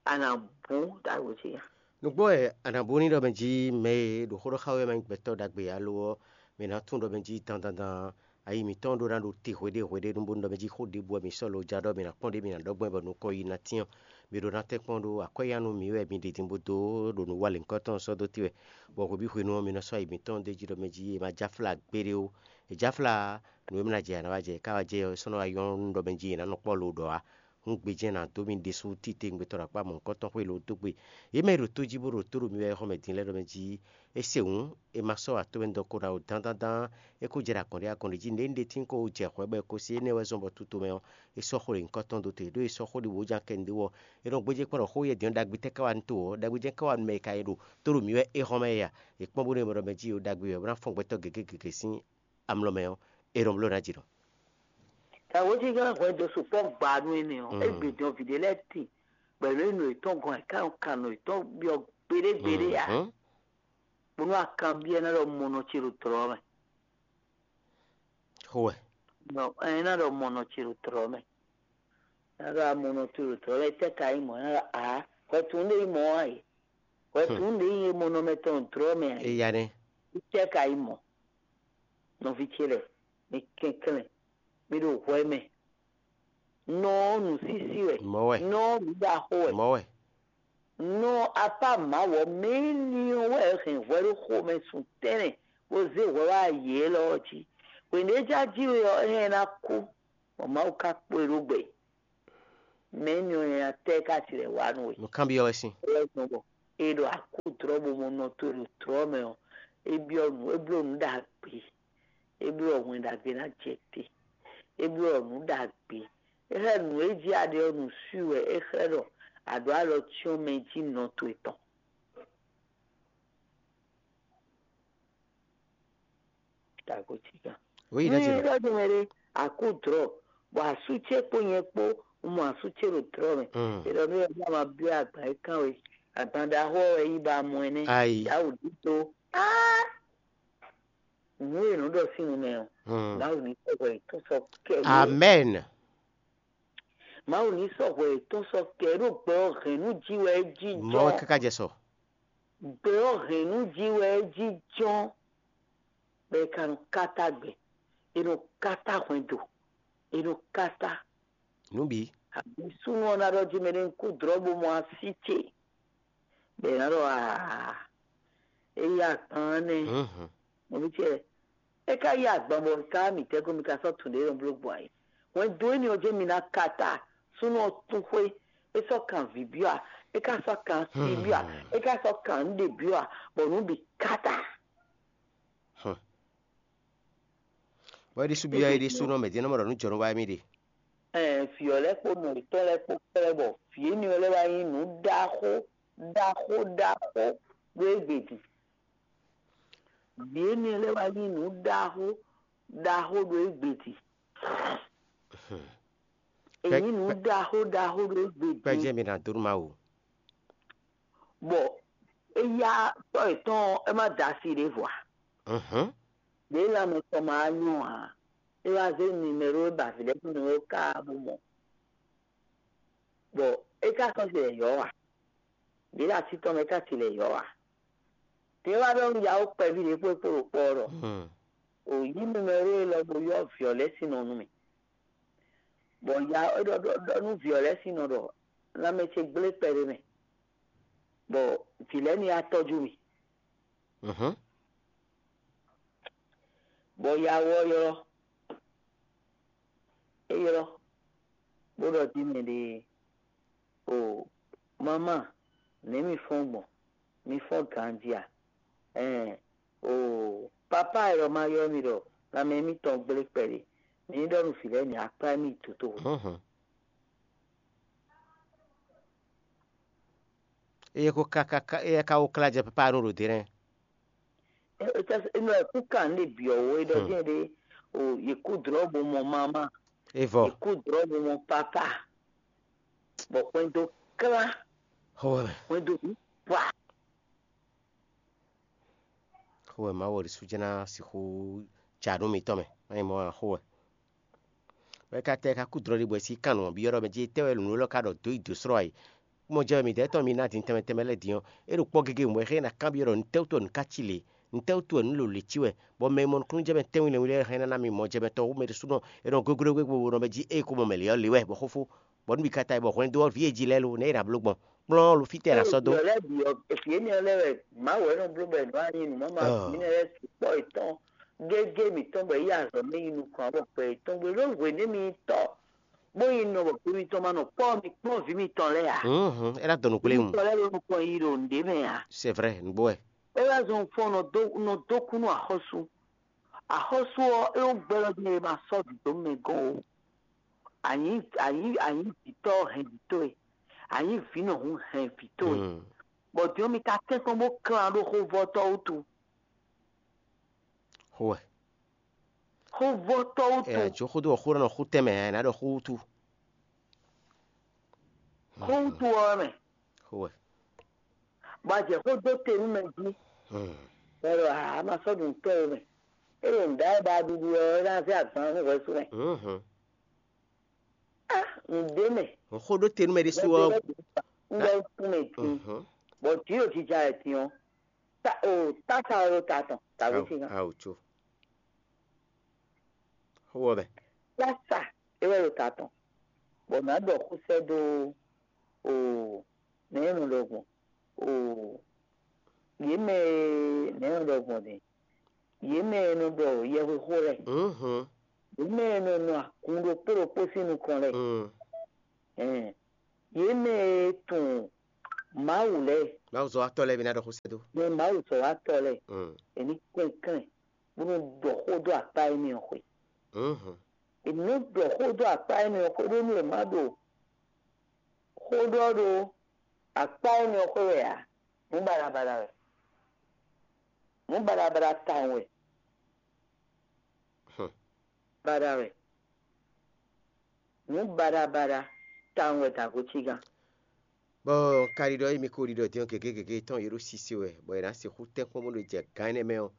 a nǎ bú ɖagbe ce nya. Nǔgbó wɛ a nǎ bú ní ɖɔ mɛ jí mɛ e ɖo xó ɖɔ xá we ma nyí gbɛtɔ́ ɖagbe ǎ lo ɔ́, mɛ ná tunwun ɖɔ mɛ jí dandandan ayi mǐtɔn ɖó ná ɖo te hweɖé hweɖé nú bónú ɖɔ mɛ jí xó ɖěbǔ wɛ mǐ sɔ́ lo ja ɖɔ mǐ ná kpɔ́n ɖě mǐ ná ɖɔ gbɔn bɔ nukɔn yi ná tyɔ́n. Mǐ ɖó ná tɛ́nkpɔ́n ɖó akwɛ́ ya nú mǐ wɛ mi ɖi din bó dó ɖo nǔ wa lěhunkɔtɔn sɔ́ dó te wɛ, bɔ hwebǐ hwenu ɔ́, mi nɔ sɔ́ ayi mǐtɔn ɖ'é jí ɖɔ mɛ jí è ma jáfla gbeɖé ó. È jáfla nǔ e mlá jɛ a nǎ wá jɛ, ká wá jɛ ɔ́, é sɔ́ nɔ wá nyɔ́ nú ɖɔ mɛ jí è nǎ nɔ kpɔ́ lo ɖɔ ǎ. Hún gbe jɛ́n nǎ dó mì ɖésú titewungbe tɔn ɖo akpá mɔ̌hunkɔtɔn xwé lo dó gbe. Yě mɛ e ɖo tó jí bó ɖo tó ɖo mi wɛ xɔmɛ din lɛ́ɛ ɖɔ mɛ jí é se hǔn, è ma sɔ́ wǎ towe dɔn ko ɖo awo dán dán dán, é ko jɛ ɖo agɔ̌n ɖé agɔ̌n ɖé jí, nǔɖé nǔɖé tín ko jɛ hwɛ̌ bɔ è ko se énɛ́ wɛ zɔ́n bɔ tito mɛ ɔ́, é sɔ́ xó ɖo nyǐkɔ tɔn dó te, ɖó è sɔ́ xó ɖě wǒ jan kɛ nǔɖé wɔ. È nɔ gbéjé kpɔ́n ɖɔ xó yɛdɛ̌n ɖagbe tɛ́ ká wá nú to ɔ́, ɖagbe jɛ́n ká wá nú mɛ e ka yi ɖo tó ɖo mǐ wɛ é xɔ́mɛ é a? È kpɔ́n bónú è mɔ ɖɔ mɛ jí ɖo ɖagbe wɛ bó ná fɔ́n gbɛtɔ́ gěgé gěgé sín amlɔ mɛ ɔ́, é ɖɔ bló ná jǐ nɔ. Tawǒjigán hwɛndo sukpɔ́ gba nú énɛ́ ɔ́, é gbe dɔn vǐ ɖé lɛ́ɛ tin, bɔ è nɔ yi nǔ yětɔn gɔ́n, è ká nɔ kan nǔ yětɔn byɔ́ gbeɖé gbeɖé ǎ. Bónú akanbyɔ́ ná ɖɔ mɔnɔ ce ɖo tlɔ̌ mɛ. Xo wɛ. Nɔ ɛ ná ɖɔ mɔnɔ ce ɖo tlɔ̌ mɛ. Ná ɖɔ amɔnɔ ce ɖo tlɔ̌ mɛ, tɛ́ ka nyí mɔ̌? Ná ɖɔ ǎ, hwɛtun ɖé nyí mɔ̌ ǎ é. Hwɛtun ɖé nyí mɔnɔmɛ tɔn ɖo tlɔ̌ mɛ ǎ é. Eya nɛ́. Tɛ́ ka nyí mɔ̌? Nɔví ce lɛ́ɛ, mi kɛnklɛ́n, mi ɖo hwɛ mɛ. Nɔ ɔ́ nǔsísí wɛ. Mɔ̌ wɛ. Nɔ ɔ́ nǔɖaxó wɛ. Mɔ̌ wɛ. Nɔ apá Mawu ɔ́ mɛ ní ɔ́ wɛ hɛn hwɛ ɖó xomɛ sun tɛ́nlɛn, bó zé hwɛ wá yě élɔ́ ɔ́ jí. Hwěɖéjájí we ɔ́, é hɛn ná kú, bɔ Mawu ka kpo e ɖó gbɛ. Mɛ ní ɔ́ nyanya tɛ́ ká tilɛ wá nú we? Nǔ kanbyɔ́ wɛ sín. Wɛ gbɔn bɔ è ɖo akú dlɔ́ bo mɔ nɔ towe ɖo dlɔ́ mɛ ɔ́, é byɔ́ nǔ, é bló nǔ ɖagbe. É bló hwɛn ɖagbe ná jɛ te. É bló nǔ ɖagbe. É xlɛ́ nǔ e jí a ɖe ɔ́ nǔ swi wɛ é xlɛ́ ɖɔ a ɖǒ alɔ cyɔ́n mɛ jí nɔ towe tɔn. Tagotíkan. Oui, nú yé ɖɔ din mɛ ɖé, akú drɔ̌, bɔ asú ce kpó nyɛ kpó un mɔ asú ce ɖo drɔ̌ mɛ. È ɖɔ nú yɛ bó ma byɔ́ agban e kán we, agban ɖaxó ɔ́ wɛ yí ba mɔ ɛ nɛ́. Ayi. Yawǔ ɖíto. Nǔ e nǔ ɖɔ sín nu mɛ ɔ́, Mawu ní sɔ́ hwɛ yětɔn sɔ́ kɛ yě. Amɛn. Mawu ní sɔ́ hwɛ yětɔn sɔ́ kɛ yě ɖo gbɛ ɔ́ hɛn nú jí wɛ é jí. Mɔ̌ wɛ jɔ́n. Káká jɛ sɔ. Gbɛ ɔ́ hɛn nú jí wɛ é jí jɔ́n. Bɔ è ka nɔ káta gbɛ, è nɔ káta hwɛndo, è nɔ káta. Nǔ bǐ. Abǐ súnnu ɔ́ ná ɖɔ jí mɛ ɖé kú drɔ̌ bo mɔ así ce. Bɔ è nǎ ɖɔ aa, é yí agban ɔ́ nɛ́. Nɔví ce, é ka yí agban bɔ ka mǐtɛ́ kó mi ka sɔ́ tun ɖě nɔ bló gbɔn ayǐ. Hwɛndo énɛ́ ɔ́ jɛ́n mi ná káta, súnnu ɔ́ tún xwé, é sɔ́ kan vǐ byɔ́ a, é ka sɔ́ kan asi byɔ́ a, é ka sɔ́ kan nǔɖé byɔ́ a, bɔ nǔ bǐ káta. Bɔ é ɖésú byɔ́ é ɖésú nɔ mɛ din nɔ mɔ ɖɔ nǔ jɔnú wá émí ɖe. Ɛɛ, vǐ ɔ́ lɛ́ɛ kpó nɔ yětɔn lɛ́ɛ kpó kplɛ́ bɔ vǐ énɛ́ ɔ́ lɛ́ɛ wá nyí nǔ ɖaxó ɖaxó ɖaxó ɖó égbé din. Vǐ énɛ́ lɛ́ɛ wá nyí nǔ ɖaxó ɖaxó ɖó égbé din. È nyí nǔ ɖaxó ɖaxó ɖó égbé din. Kpɛjɛ mi ná dó nú Mawu. Bɔ éyá tɔ́ yětɔn ɔ́, é má da asi ɖěvo ǎ. Ɖě lanmɛ tɔn ma wá nyɔ́ ǎ, é wá zé nimero e ba vǐ lɛ́ɛ sín nimero ká bó mɔ. Bɔ é ka sɔ́ ce lɛ̌ yɔ́ ǎ. Ɖě ɖo así tɔn mɛ é ka ce lɛ̌ yɔ́ ǎ. Tě wá ɖɔ nú yawó kpɛví ɖě kpó kpó ɖo kpɔ́ ɔ́ ɖɔ: "O yí nimero élɔ́ bó yɔ́ vǐ ɔ́ lɛ́ɛ sín nɔ nú mì." Bɔ ya é ɖɔ ɖɔ ɖɔ nú vǐ ɔ́ lɛ́ɛ sín nɔ ɖɔ: "Lanmɛ ce gblé kpɛɖé mɛ, bɔ vǐ lɛ́ɛ ní wá tɔ́jú mì." Bɔ yawó ɔ́ ylɔ́, é ylɔ́, bó ɖɔ jí mɛ ɖě: "O mamá, nɛ̌ mi fɔ́n gbɔn? Mi fɔ́n ganjí a? Ɛɛn, o papá e ɖɔ ma ylɔ́ mi ɖɔ lanmɛ émítɔn gblé kpɛɖé, mi ní ɖɔ nú vǐ lɛ́ɛ ní akplá mì yi dotóxwé." Eye ko ka ka ka eye ka wo kla jɛ papa anu ɖo dě nɛ́. Enɔ ɛ kú kan ɖe byɔ̌ wo é ɖɔ jɛ́n ɖe o yě kú drɔ̌ bo mɔ mamá, Evɔ. Yě kú drɔ̌ bo mɔ papá, bɔ hwɛndo klá, Xo wɛ mɛ. Hwɛndo bǐ wa. Xo wɛ Mawu ɔ́ ɖésú jɛ́n ná sixú ja nú mitɔn mɛ. Má nyí mɔ̌ ǎ, xo wɛ. Bɔ é ka tɛ é ka kú dlɔ́ ɖi bɔ è sí kan nǔ ɔ́ byɔ́ ɖɔ mɛ jí tɛ́ wɛ nǔ élɔ́ ka ɖɔ dó yi dǒ slɔ́ ǎ é. Mɔ jɛ wɛ midɛɛ tɔn mi ná din tɛnmɛ tɛnmɛ lɛ́ɛ din ɔ́, é ɖo kpɔ́ gégé wɛ é xlɛ́ ná kanbyɔ́ ɖɔ nǔtɛ́wútu wɛ nǔ ká cí lě? Nǔtɛ́wútu wɛ nǔ lǒ lě cí wɛ? Bɔ mɛ e mɔ nukúnnú jɛ mɛ tɛ́nwún lɛ́nwún lɛ́ɛ hɛn ná ná mi mɔ jɛ mɛ tɔn wú mɛ ɖésúnɔ è nɔ goglo gbé gbo nɔ mɛ jí ée ko mɔ mɛ lě ɔ́ lě wɛ bɔ xófó, bɔ nú mi ka ta yi bɔ hwɛndo ɔ́ vǐ e jí lɛ́ɛ lo nɛ̌ è nǎ bló gbɔn? Kplɔ́n lo fítɛ́ è nǎ sɔ́ dó? Vǐ énɛ́ lɛ́ɛ wɛ Mawu wɛ nɔ bló bɔ è nɔ wá nyi nǔ mama vǐ énɛ́ lɛ́ɛ sukpɔ́ yětɔn gégé mǐtɔn bɔ é yi azɔ̌ mɛ yi nukɔn ǎ bɔ gbɛ yětɔn gbe ɖó hwě nú mi tɔ́ bó yi nɔ bɔ gbe mitɔn ma nɔ kpɔ́ mi kplɔ́n vǐ mitɔn lɛ́ɛ ǎ. Hǔn hǔn, é ná dɔn nǔkplé Vǐ mu. Mitɔn lɛ́ɛ ɖo nukɔn yi ɖo nǔɖé mɛ ǎ. C'est vrai, nǔgbó wɛ. É wá zɔn fɔ́n nɔ dó nɔ dó kú nú axɔ́sú. Axɔ́sú ɔ́, é wó gbɛ́ ɔ́ din e ma sɔ́ vǐ dó mɛ gɔ́n o. Anyi anyi anyi vǐtɔ́ hɛn vǐ towe. Anyi vǐ nɔ hun hɛn vǐ towe. Hmm. Bɔ din ɔ́ mi ka tɛ́nkpɔ́n bó klán ɖó xóvɔ́tɔ́ wútu. Xó wɛ. Xóvɔ́tɔ́ wútu. Ɛ jǒ xó dó xó nɔ xó tɛnmɛ ɛ ná ɖɔ xó wútu. Xó wútu ɔ́ mɛ. Xó wɛ. Bɔ a jɛ xó dó te nú mɛ jí. Hmm. Bɔ a ma sɔ́ ɖu nǔ tɔn we mɛ. É ɖo nǔ ɖa wɛ ba ɖuɖu ɔ́ é ná zé agban nú hwɛsú mɛ. Mhm. Ah, nǔɖé mɛ. Xó ɖó te nú mɛ ɖésú ɔ́. Ŋgbɛ kún mɛ dín. Mhm. Bɔ jǐ ɖo jija wɛ dín ɔ́. Ta o tása wɛ ɖo ta tɔn tàbí Awu, fi hàn. Awu tso. Xó wɔ bɛ. Tása é wɛ ɖo ta tɔn. Bɔ nǎ ɖɔ xó sɛ́ dó o nɛ̌ nɔ ɖɔ gbɔn o yě mɛ e nɛ̌ nɔ ɖɔ gbɔn din. Yě mɛ e nɔ ɖɔ yɛhwexó lɛ́ɛ. Mhm. Yě mɛ e nɔ nɔ agun ɖokpó ɖokpó sín nukɔn lɛ́ɛ. Mm. Ɛn, yě mɛ e tunwun Mawu lɛ́ɛ. Mawu zɔ atɔ́ lɛ́ɛ mi ná ɖɔ xó sɛ́ dó. Mɛ Mawu zɔ wá tɔ lɛ́ɛ. Mm. È ní kɛnklɛ́n bónú ɖɔ xó dó akpá énɛ́ ɔ́ xwé. Mhm. È nǐ ɖɔ xó dó akpá énɛ́ ɔ́ xwé ɖó nú è má ɖo xó ɖɔ ɖó akpá énɛ́ ɔ́ xwé wɛ ǎ. Nǔ baɖabaɖa wɛ. Nǔ baɖabaɖa tawun wɛ. Hmm. Baɖa wɛ. Nǔ baɖabaɖa tawun wɛ dǎgotígán. Bɔ un ka ɖiɖɔ emi ko ɖiɖɔ din ɔ́ gěgé gěgé tɔn yě ɖo sise wɛ, bɔ è nǎ sixú tɛ́nkpɔ́n bó ɖo jɛ gǎn énɛ́ mɛ ɔ́,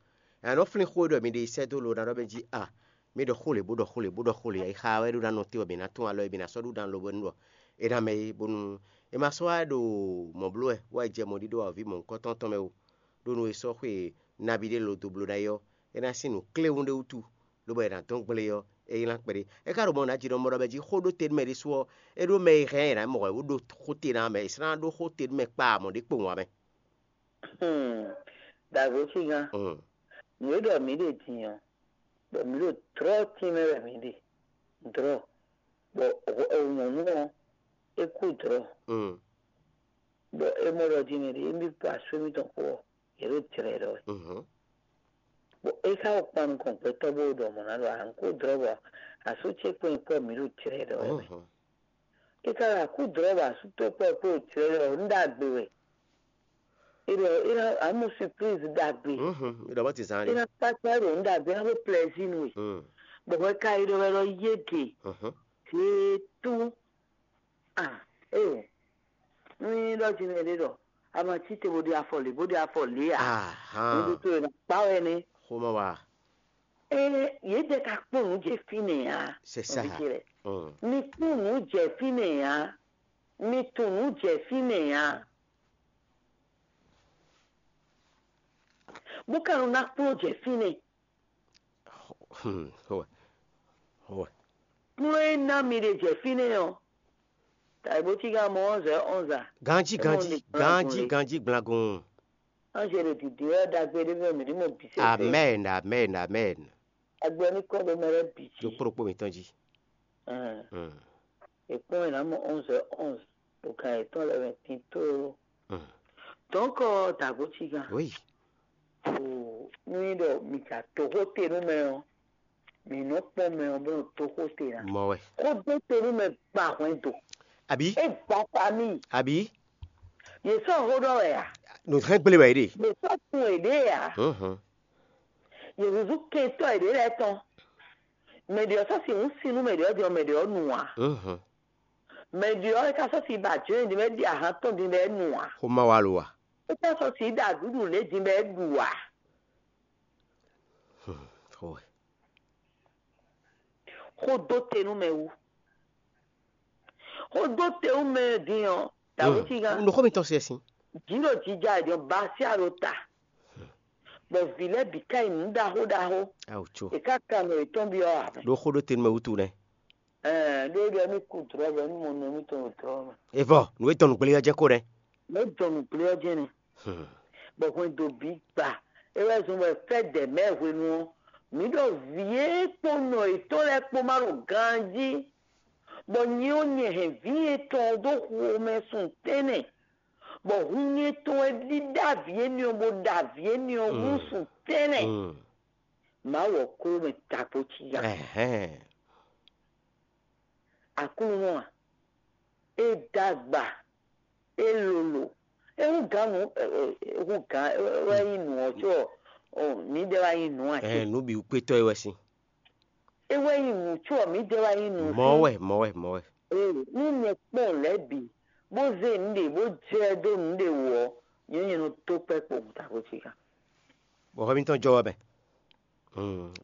è nǎ nɔ flín xó e ɖɔ mi ɖe yi sɛ́ dó lo ná ɖɔ mɛ jí a, mi ɖɔ xó lě bó ɖɔ xó lě bó ɖɔ xó lě, ayixa wɛ ɖó ná nɔ te wɛ mi ná tún alɔ e mi ná sɔ́ ɖó dan lobo ní ɖɔ é ná mɛ é, bónú é ma sɔ́ wá ɖo mɔ̌ bló wɛ, bó wá yi jɛ mɔ̌ ɖíɖó wá vǐ mɔ̌hunkɔtɔn tɔn mɛ o, ɖó nú é sɔ́ xwe nabí ɖé lo dó bló ná é ɔ́, é ná sín nǔ kléwún ɖé wútu, lobɔ è nǎ dɔn gble ɔ́, é nylá kpɛɖé. É ka ɖo mɔ nǎ ji ɖɔ mɔ ɖɔ mɛ jí xó ɖó te nú mɛ ɖésú ɔ́, é ɖó mɛ e hɛn ɛ nǎ mɔ wɛ wú ɖó xó te ná mɛ, è slán ɖó xó te nú mɛ kpa mɔ̌ ɖé kpowun ǎ mɛ. Hmm. Dǎgbo sígán. Hmm. Nǔ e ɖɔ mǐ ɖe din ɔ́, bɔ mǐ ɖo dlɔ̌ tínmɛ wɛ mǐ ɖe. Dlɔ̌. Bɔ nyɔ̌nu ɔ́, é kú dlɔ̌. Hmm. Bɔ é mɔ ɖɔ din mɛ ɖě émí kpó asú émítɔn kpó ɔ́, yě ɖo jlɛ̌ ɖɔ wɛ. Mhm. Bɔ é ka wɔ kpan nukɔn gbɛtɔ́ bó ɖɔ mɔ̌ ná ɖɔ a nǔ kó dlɔ́ bɔ asú ce kpó nyí kpɔ́ mǐ ɖo jlɛ̌ ɖɔ wɛ mɛ. Mhm. É ka ɖo akú dlɔ́ bɔ asú towe kpó ɔ́ kpó ɖo jlɛ̌ ɖɔ wɛ, nǔ ɖagbe wɛ. É ɖɔ é ná amú surprise ɖagbe. Mhm. Mi ɖɔ mɔ ti zan É ɖe. Ná kpákpá ɖo nǔ ɖagbe ná ɖó plaisir nú we. Mm. Bɔ hwɛ ka yi ɖɔ wɛ ɖɔ yé ɖe. Mhm. Zé tú. Ah, eh. Ní ɖɔ jí mɛ ɖé ɖɔ a ma cí te bó ɖe afɔ lě bó ɖe afɔ lě ǎ. Ahan. Ní ɖo tó yě ná kpá wɛ nɛ. Xomɔ wa. Ɛ yě jɛ ka kpɔ́n nǔ jɛ fínɛ́ ǎ. C'est ça. Nɔví ce lɛ. Mm. Mi kpɔ́n nǔ jɛ fínɛ́ ǎ. Mi tunwun nǔ jɛ fínɛ́ ǎ. Bó ka nɔ ná kplɔ́n jɛ fínɛ́. Hmm, xowɛ. Xowɛ. Kplɔ́n e ná mi ɖe jɛ fínɛ́ ɔ́, tàbí bó cí ká mɔ ɔ́ zɛ ɔ́nza. Ganji, ganji, ganji, ganji, gblangun. Anzelu dìde ɔ́ ɖagbe ɖé mɛ mǐ ní mɔ bǐ sɛsɛ. Amen, amen, amen. Agbɛ́ ní kɔ ɖo mɛ lɛ́ɛ bǐ jí. Ɖokpó ɖokpó mǐtɔn jí. Ɛn, Hmm. È kpɔ́n ɛ ná mɔ onze heures onze ɖo gan yětɔn lɛ́ɛ mɛ tito. Hmm. Donc, dǎgbo cí gán. Oui. O, nú nyí ɖɔ mǐ ja dǒ xó te nú mɛ ɔ́, mǐ nɔ kpɔ́n mɛ ɔ́ bó nɔ dó xó te ná. Mɔ wɛ. Xó dó te nú mɛ gba hwɛndo. Àbí? É gba famille. Àbí? Yě sɔ́ xó ɖɔ wɛ a? Nǔ hɛn gblé wɛ é ɖe. Yě sɔ́ tun è ɖě a? Mhm. Yě zúzú kɛntɔ́ è ɖě lɛ́ɛ tɔn. Mɛ ɖě ɔ́ sɔ́ sixú sin nú mɛ ɖě ɔ́ din ɔ́, mɛ ɖě ɔ́ nu ǎ. Mhm. Mɛ ɖě ɔ́, é ka sɔ́ si ba jǒ din bɔ é ɖi ahan tɔn din bɔ é nu ǎ. Xó ma wa lo a? É ka sɔ́ si ɖa nǔɖuɖu lě din bɔ é ɖu ǎ. Hmm, xó wɛ. Xó dó te nú mɛ wú. Xó dó te nú mɛ din ɔ́, dǎwe cí gán. Nǔ xó mitɔn se sin. Jǐ ɖo jija è jɔ basia ɖo ta. Bɔ vǐ lɛ́ɛ bǐ ká yi nǔ ɖaxó ɖaxó. Awu tso. È ká kan nɔ yětɔn byɔ́ ǎ. Ɖó xó ɖó te nú mɛ wútu nɛ́. Ɛɛ, ɖó ɖɔ émí kú dlɔ̌ bɔ émí mɔ nɔ émítɔn ɖo dlɔ̌ mɛ. Evɔ, nǔ e dɔn nǔgbélé ɔ́ jɛ́n kó nɛ́. Nǔ e dɔn nǔgbélé ɔ́ jɛ́n nɛ́. Hmm. Bɔ hwɛndo bǐ gba. É wɛ zɔn bɔ fɛ́ dɛ mɛ̌ hwenu ɔ́, mǐ ɖɔ vǐ e kpó nɔ yětɔn lɛ́ɛ kpó ma ɖo ganjí, bɔ nyɛ ɔ́ nyɛ hɛn vǐ etɔn ɔ́ dó xomɛ sun tɛ́nnɛ, bɔ hun nyɛ tɔn wɛ ɖíɖá vǐ énɛ́ ɔ́ bó ɖa vǐ énɛ́ ɔ́ hú sun tɛ́nnɛ. Mm. Mawu ɔ́ klo mɛ tako cí ya. Ɛhɛn. Aklúnɔ a? É dó agba, é lolo, é hú gǎn nǔ, é hú gǎn wɛ nyí nǔ ɔ́ có mǐdɛɛ wá nyí nǔ ǎ. Ɛhɛn, nǔ bǐ wú kpétɔ́ é wɛ sín. É wɛ nyí nǔ, có ɔ́, mǐdɛɛ wɛ nyí nǔ. Mɔ̌ wɛ, mɔ̌ wɛ, mɔ̌ wɛ. Ee, nú nyɛ kpɔ́n lɛ̌ bǐ, bó zé nǔɖé, bó jɛ dó nǔɖé wú ɔ́, nyɛ nyɛ nɔ dó kpɛ́ kpowun tako ce gán. Bɔ hwɛ mitɔn jɔ wɛ mɛ.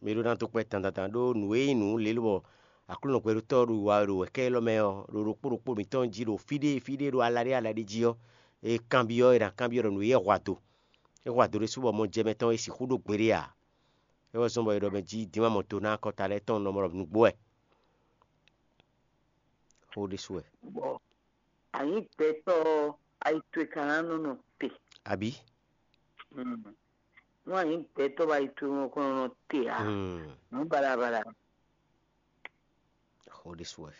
Mi ɖó ná dó kpɛ́ dandandan ɖó nǔ e nyí nǔ lě lobɔ Aklúnɔ gbɛɖótɔ́ ɖo wa ɖo wɛ̌kɛ́ élɔ́ mɛ ɔ́, ɖo ɖokpó ɖokpó mǐtɔn jí ɖo fí ɖé fí ɖé ɖo ala ɖé ala ɖé jí ɔ́, è kanbyɔ́ è nǎ kanbyɔ́ ɖɔ nǔ e é hwa do. É hwa do ɖésú bɔ mɔjɛmɛ tɔn e sixú ɖó gbeɖé ǎ. É wɛ zɔ́n bɔ è ɖɔ mɛ jí dín wá mɔ do ná akɔta lɛ́ɛ tɔn nɔ mɔ ɖɔ nǔgbó wɛ. Xó ɖésú wɛ. Bɔ a nyǐ gbɛtɔ́ ɔ́, ayi towe ka ná nɔ nɔ te. Abǐ? Nú a nyǐ gbɛtɔ́ bɔ ayi towe mɔ kɔn nɔ nɔ te ǎ, nǔ baɖabaɖa. Xó ɖésú wɛ.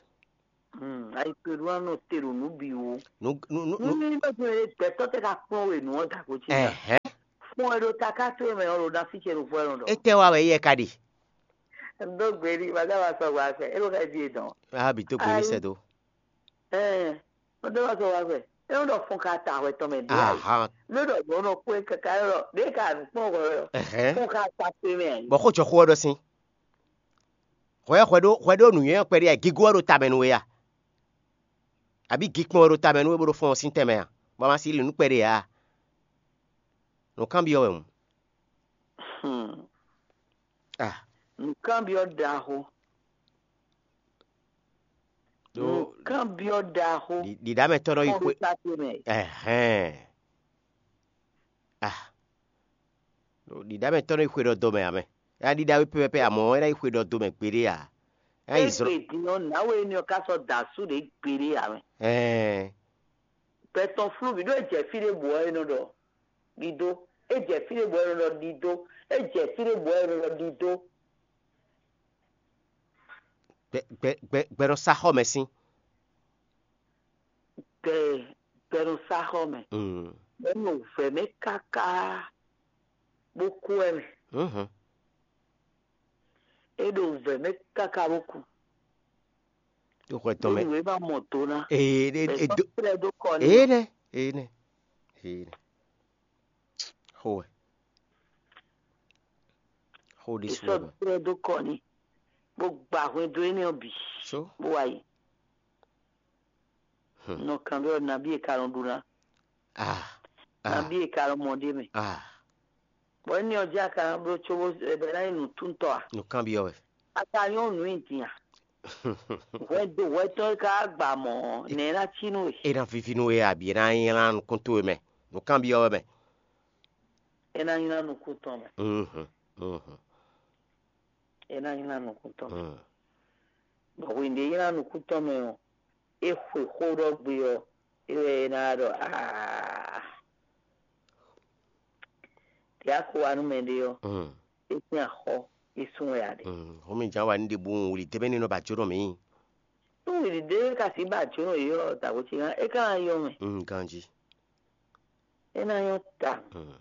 Ayi towe ɖó ná nɔ te ɖo nǔ bǐ wú. Nú nú nú Nú nú ní bɛ gbɛtɔ́ tɛ ka kplɔ́n we nǔ ɔ́ da gǒ ce ná. Ɛhɛn. Fún ɛ ɖo taká towe mɛ ɔ́ ɖo ná fí ce ɖo fún ɛ nɔ ɖɔ. Étɛ́ wa wɛ yɛ ka ɖe? Dó gbe n'i, ma ka wá sɔ wá fɛ, é ɖo xɛ jí e dɔn. A bǐ tó gbe ní sɛ dó. Ɛɛ, ma dó wá sɔ wá fɛ, é nɔ ɖɔ fún ka ta hwɛ tɔn mɛ dó. Ahan. Ló ɖɔ yɔ nɔ kpé kaka lɔ ɖé ka nǔ kplɔ́n hwɛ ɔ́. Ɛhɛn. Fún ka ta towe mɛ. Bɔ xó jɔ xó ɔ́ ɖɔ sín. Hwɛ hwɛ ɖó hwɛ ɖó nǔnywɛ́ ɔ́ kpɛɖé a gígó ɔ́ ɖo tamɛ nú we a? Abǐ gikpɔn ɔ́ ɖo tamɛ nú we bó ɖo fɔ́n ɔ́ sín tɛnmɛ a? Bɔ a ma si li nǔ kpɛɖé ǎ. Nǔkanbyɔ́ wɛ hǔn. Hmm. Ah. Nǔkanbyɔ́ ɖaxó. Ɖó Nǔkanbyɔ́ ɖaxó. Ɖi- ɖiɖámɛtɔ́ nɔ yi Kɔn xwé ɖo ta ce mɛ. Ɛhɛn. Ah. Ɖiɖámɛtɔ́ nɔ yi xwe ɖɔ dɔmɛ ǎ mɛ. É ná ɖiɖá wé pɛ́pɛ́pɛ́, amɔ̌ é ná yi xwe ɖɔ dɔmɛ gbeɖé ǎ. É ná yi zlɔ́. Égbe din ɔ́, nǎwe énɛ́ ɔ́ ka sɔ́ da asú ɖě gbeɖé ǎ mɛ. Ɛɛn. Gbɛ tɔn flú bǐ ɖó é jɛ fí ɖé bǔ ɔ́, é nɔ ɖɔ ɖidó. É jɛ fí ɖé bǔ ɔ́, é nɔ ɖɔ ɖidó. É jɛ fí ɖé bǔ ɔ́, é nɔ ɖɔ ɖidó. Gbɛ gbɛ gbɛ gbɛ nɔ sá xɔ mɛ sín. Gbɛ gbɛ nɔ sá xɔ mɛ. Mm. Gbɛ nɔ vɛ mɛ káká bó kú wɛ mɛ. Mhm. É ɖo vɛ mɛ káká bó kú. Tó xɔ tɔn mɛ. Nǔ e ma mɔ do ná. Ee e e do. Sɔ́ trɛ dó kɔ ní. Ee nɛ ee nɛ ee nɛ. Xó wɛ. Xó ɖé È sú sɔ́ wɛ. Trɛ dó kɔ ní. Bó gba hwɛndo énɛ́ ɔ́ bǐ. So. Bó wá yi. Hmm. Nɔ kan ɖɔ nabí e ka nɔ ɖu ná. Ah. Ah. Nabí e ka nɔ mɔ ɖé mɛ. Ah. Bɔ énɛ́ ɔ́ jí a ka nɔ bló cóbó ɛ bɛ ná nyí nǔtúntɔ́ a? Nǔkanbyɔ́ wɛ. A ka nyɔ́ nǔ nyi din a? Hwɛndo hwɛtɔ́ e ka gba mɔ̌ ɔ́, nɛ̌ ná cí nú we? É ná víví nú we abǐ é ná nylá nukún towe mɛ. Nǔkanbyɔ́ wɛ mɛ. É ná nylá nukún tɔn mɛ. Mhm, mhm. É ná nylá nukún tɔn mɛ. Mm. Bɔ hwenu e é nylá nukún tɔn mɛ ɔ́, é xwe xó ɖɔ gbe ɔ́, é wɛ é ná ɖɔ aa. Tě a ko wa nú mɛɖé ɔ́, Mm. É sín axɔ́, é sún wɛ a ɖe. Mm. Xó mi jǎn wa ní ɖe bú wǔli débé ní nɔ ba jó nɔ mǐ. Nú wǔli débé ka sǐ ba jó nɔ yě ɔ́, dǎgbó ce gán, é ka ná nyɔ́ mɛ. Mm, ganjí. É ná nyɔ́ ta. Mm.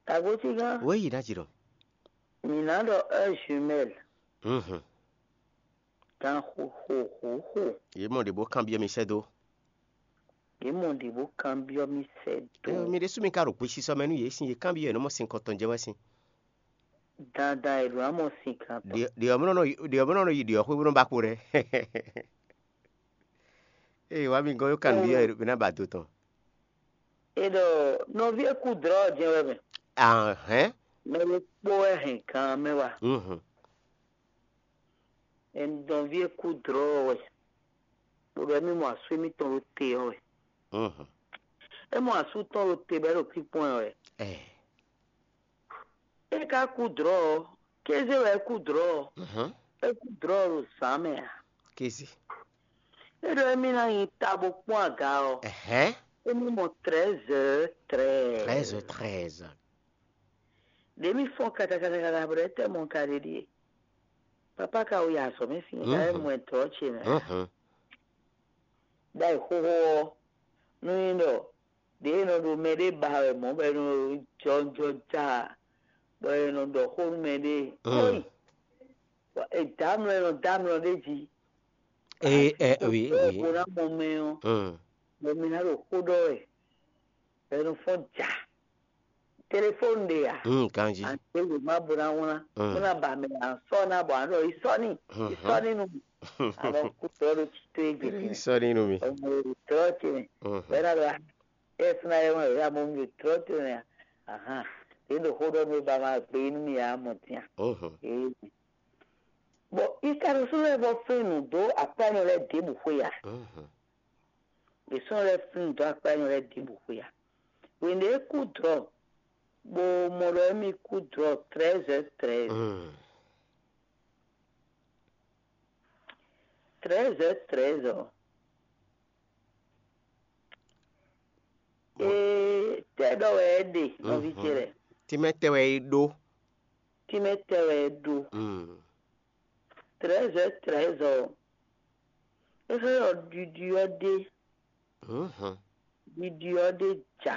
Dǎgbó ce gán, Wéyi ná jǐ ɖɔ. Mǐ ná ɖɔ heure jumelle. Mhm. Gan xo xo xo xo. Yě mɔ ɖě bó kanbyɔ́ mi sɛ́ dó. Yě mɔ ɖě bó kanbyɔ́ mì sɛ́ dó. Ée, mi ɖésú mi ka ɖo gbesisɔ mɛ nú yě sín, yě kanbyɔ́ yě nɔ mɔ sin kɔntɔn jɛ wɛ sín. Dandan è ɖǒ ná mɔ sin kan tɔn. Ɖě ɔ́ mɔ nɔ yi ɖě ɔ́ mɔ nɔ yi ɖě ɔ́ xwé bó nɔ ba kpo ɖɛ. Ée wá mi gɔ́n yó kanbyɔ́ yě ná ba do tɔn. È ɖɔ nɔví e kú dlɔ̌ ɔ́ jɛ́n wɛ mɛ. Ahɛn. Mɛ ɖokpó wɛ hɛn gan mɛ wá. Mhm. Nɔví e kú dlɔ̌ ɔ́ wɛ, bó ɖɔ émí mɔ asú émítɔn ɖo te ɔ́ wɛ. Mhm. É mɔ asú tɔn ɖo te bɔ é ɖo kpínkpɔ́n ɛ wɛ. Ɛ. É ka kú dlɔ̌ ɔ́, kéze wɛ é kú dlɔ̌ ɔ́. Mhm. É kú dlɔ̌ ɔ́ ɖo zǎn mɛ ǎ. Kéze. É ɖɔ émí ná nyi ta bó kpɔ́n aga ɔ́. Ɛhɛn. Émí mɔ treize heures treize. Treize heures treize. Ɖě mì fɔ́n kata kata kata bɔ ɖɛ̌ tɛ́ mɔ ka ɖe ɖíe. Papá ka wo yi azɔ̌ mɛ sín ka é mɔ ɛ dɔ̌ ce mɛ. Mhm. Ɖa yi xóxó ɔ́, nú nyí ɖɔ ɖě e nɔ ɖo mɛ ɖé ba wɛ mɔ̌ bɔ è nɔ jɔjɔ ja bɔ è nɔ ɖɔ xó nú mɛ ɖé. Mm. Kóyi. È dǎ mlɔ è nɔ dǎ mlɔ ɖé jí. Ee, ɛ, oui, oui. Bó ná mɔ mɛ ɔ́, Mm. bɔ mi ná ɖo xó ɖɔ wɛ. Bɔ è nɔ fɔ́n ja. Telefóni ɖe a? Hmm, ganji. Àti lè má bo ná wlán. Mm. Bó ná ba mɛ à ń sɔ ná bɔ àɖɔ ìsɔní. Ìsɔní nu. Àbọ̀ kú tọ́ ló ti tó egbe. Sɔni nu mi. Ọmọ èrè tọ́ ti nì. Mhm. Bẹ́ẹ̀ náà lọ ẹ fúnra ẹ wọn ìyá mọ mi tọ́ ti nì. Ahan. Èyí ló kó dọ́ mi ba ma gbé inú mi yà á mọ̀ tiẹ̀. Mhm. Ee. Bɔn ikanusú lɛ bɔ fɛn nu dó akpɛnu lɛ dé bu xwe ya. Mhm. Ìsún lɛ fɛn nu dó akpɛnu lɛ dé bu xwe ya. Wende kú drɔ. Bo mɔ ɖɔ émí kú drɔ treize heures treize. Mm. Treize heures treize ɔ. Ee, tɛ ɖɔ wɛ é ɖe nɔvi ce lɛ. Tí mɛ tɛ wɛ é ɖó. Tí mɛ tɛ wɛ é ɖó. Mm. Treize heures treize ɔ. É xlɛ́ ɖɔ ɖiɖi ɔ́ ɖé. Mhm. Ɖiɖi ɔ́ ɖé ja.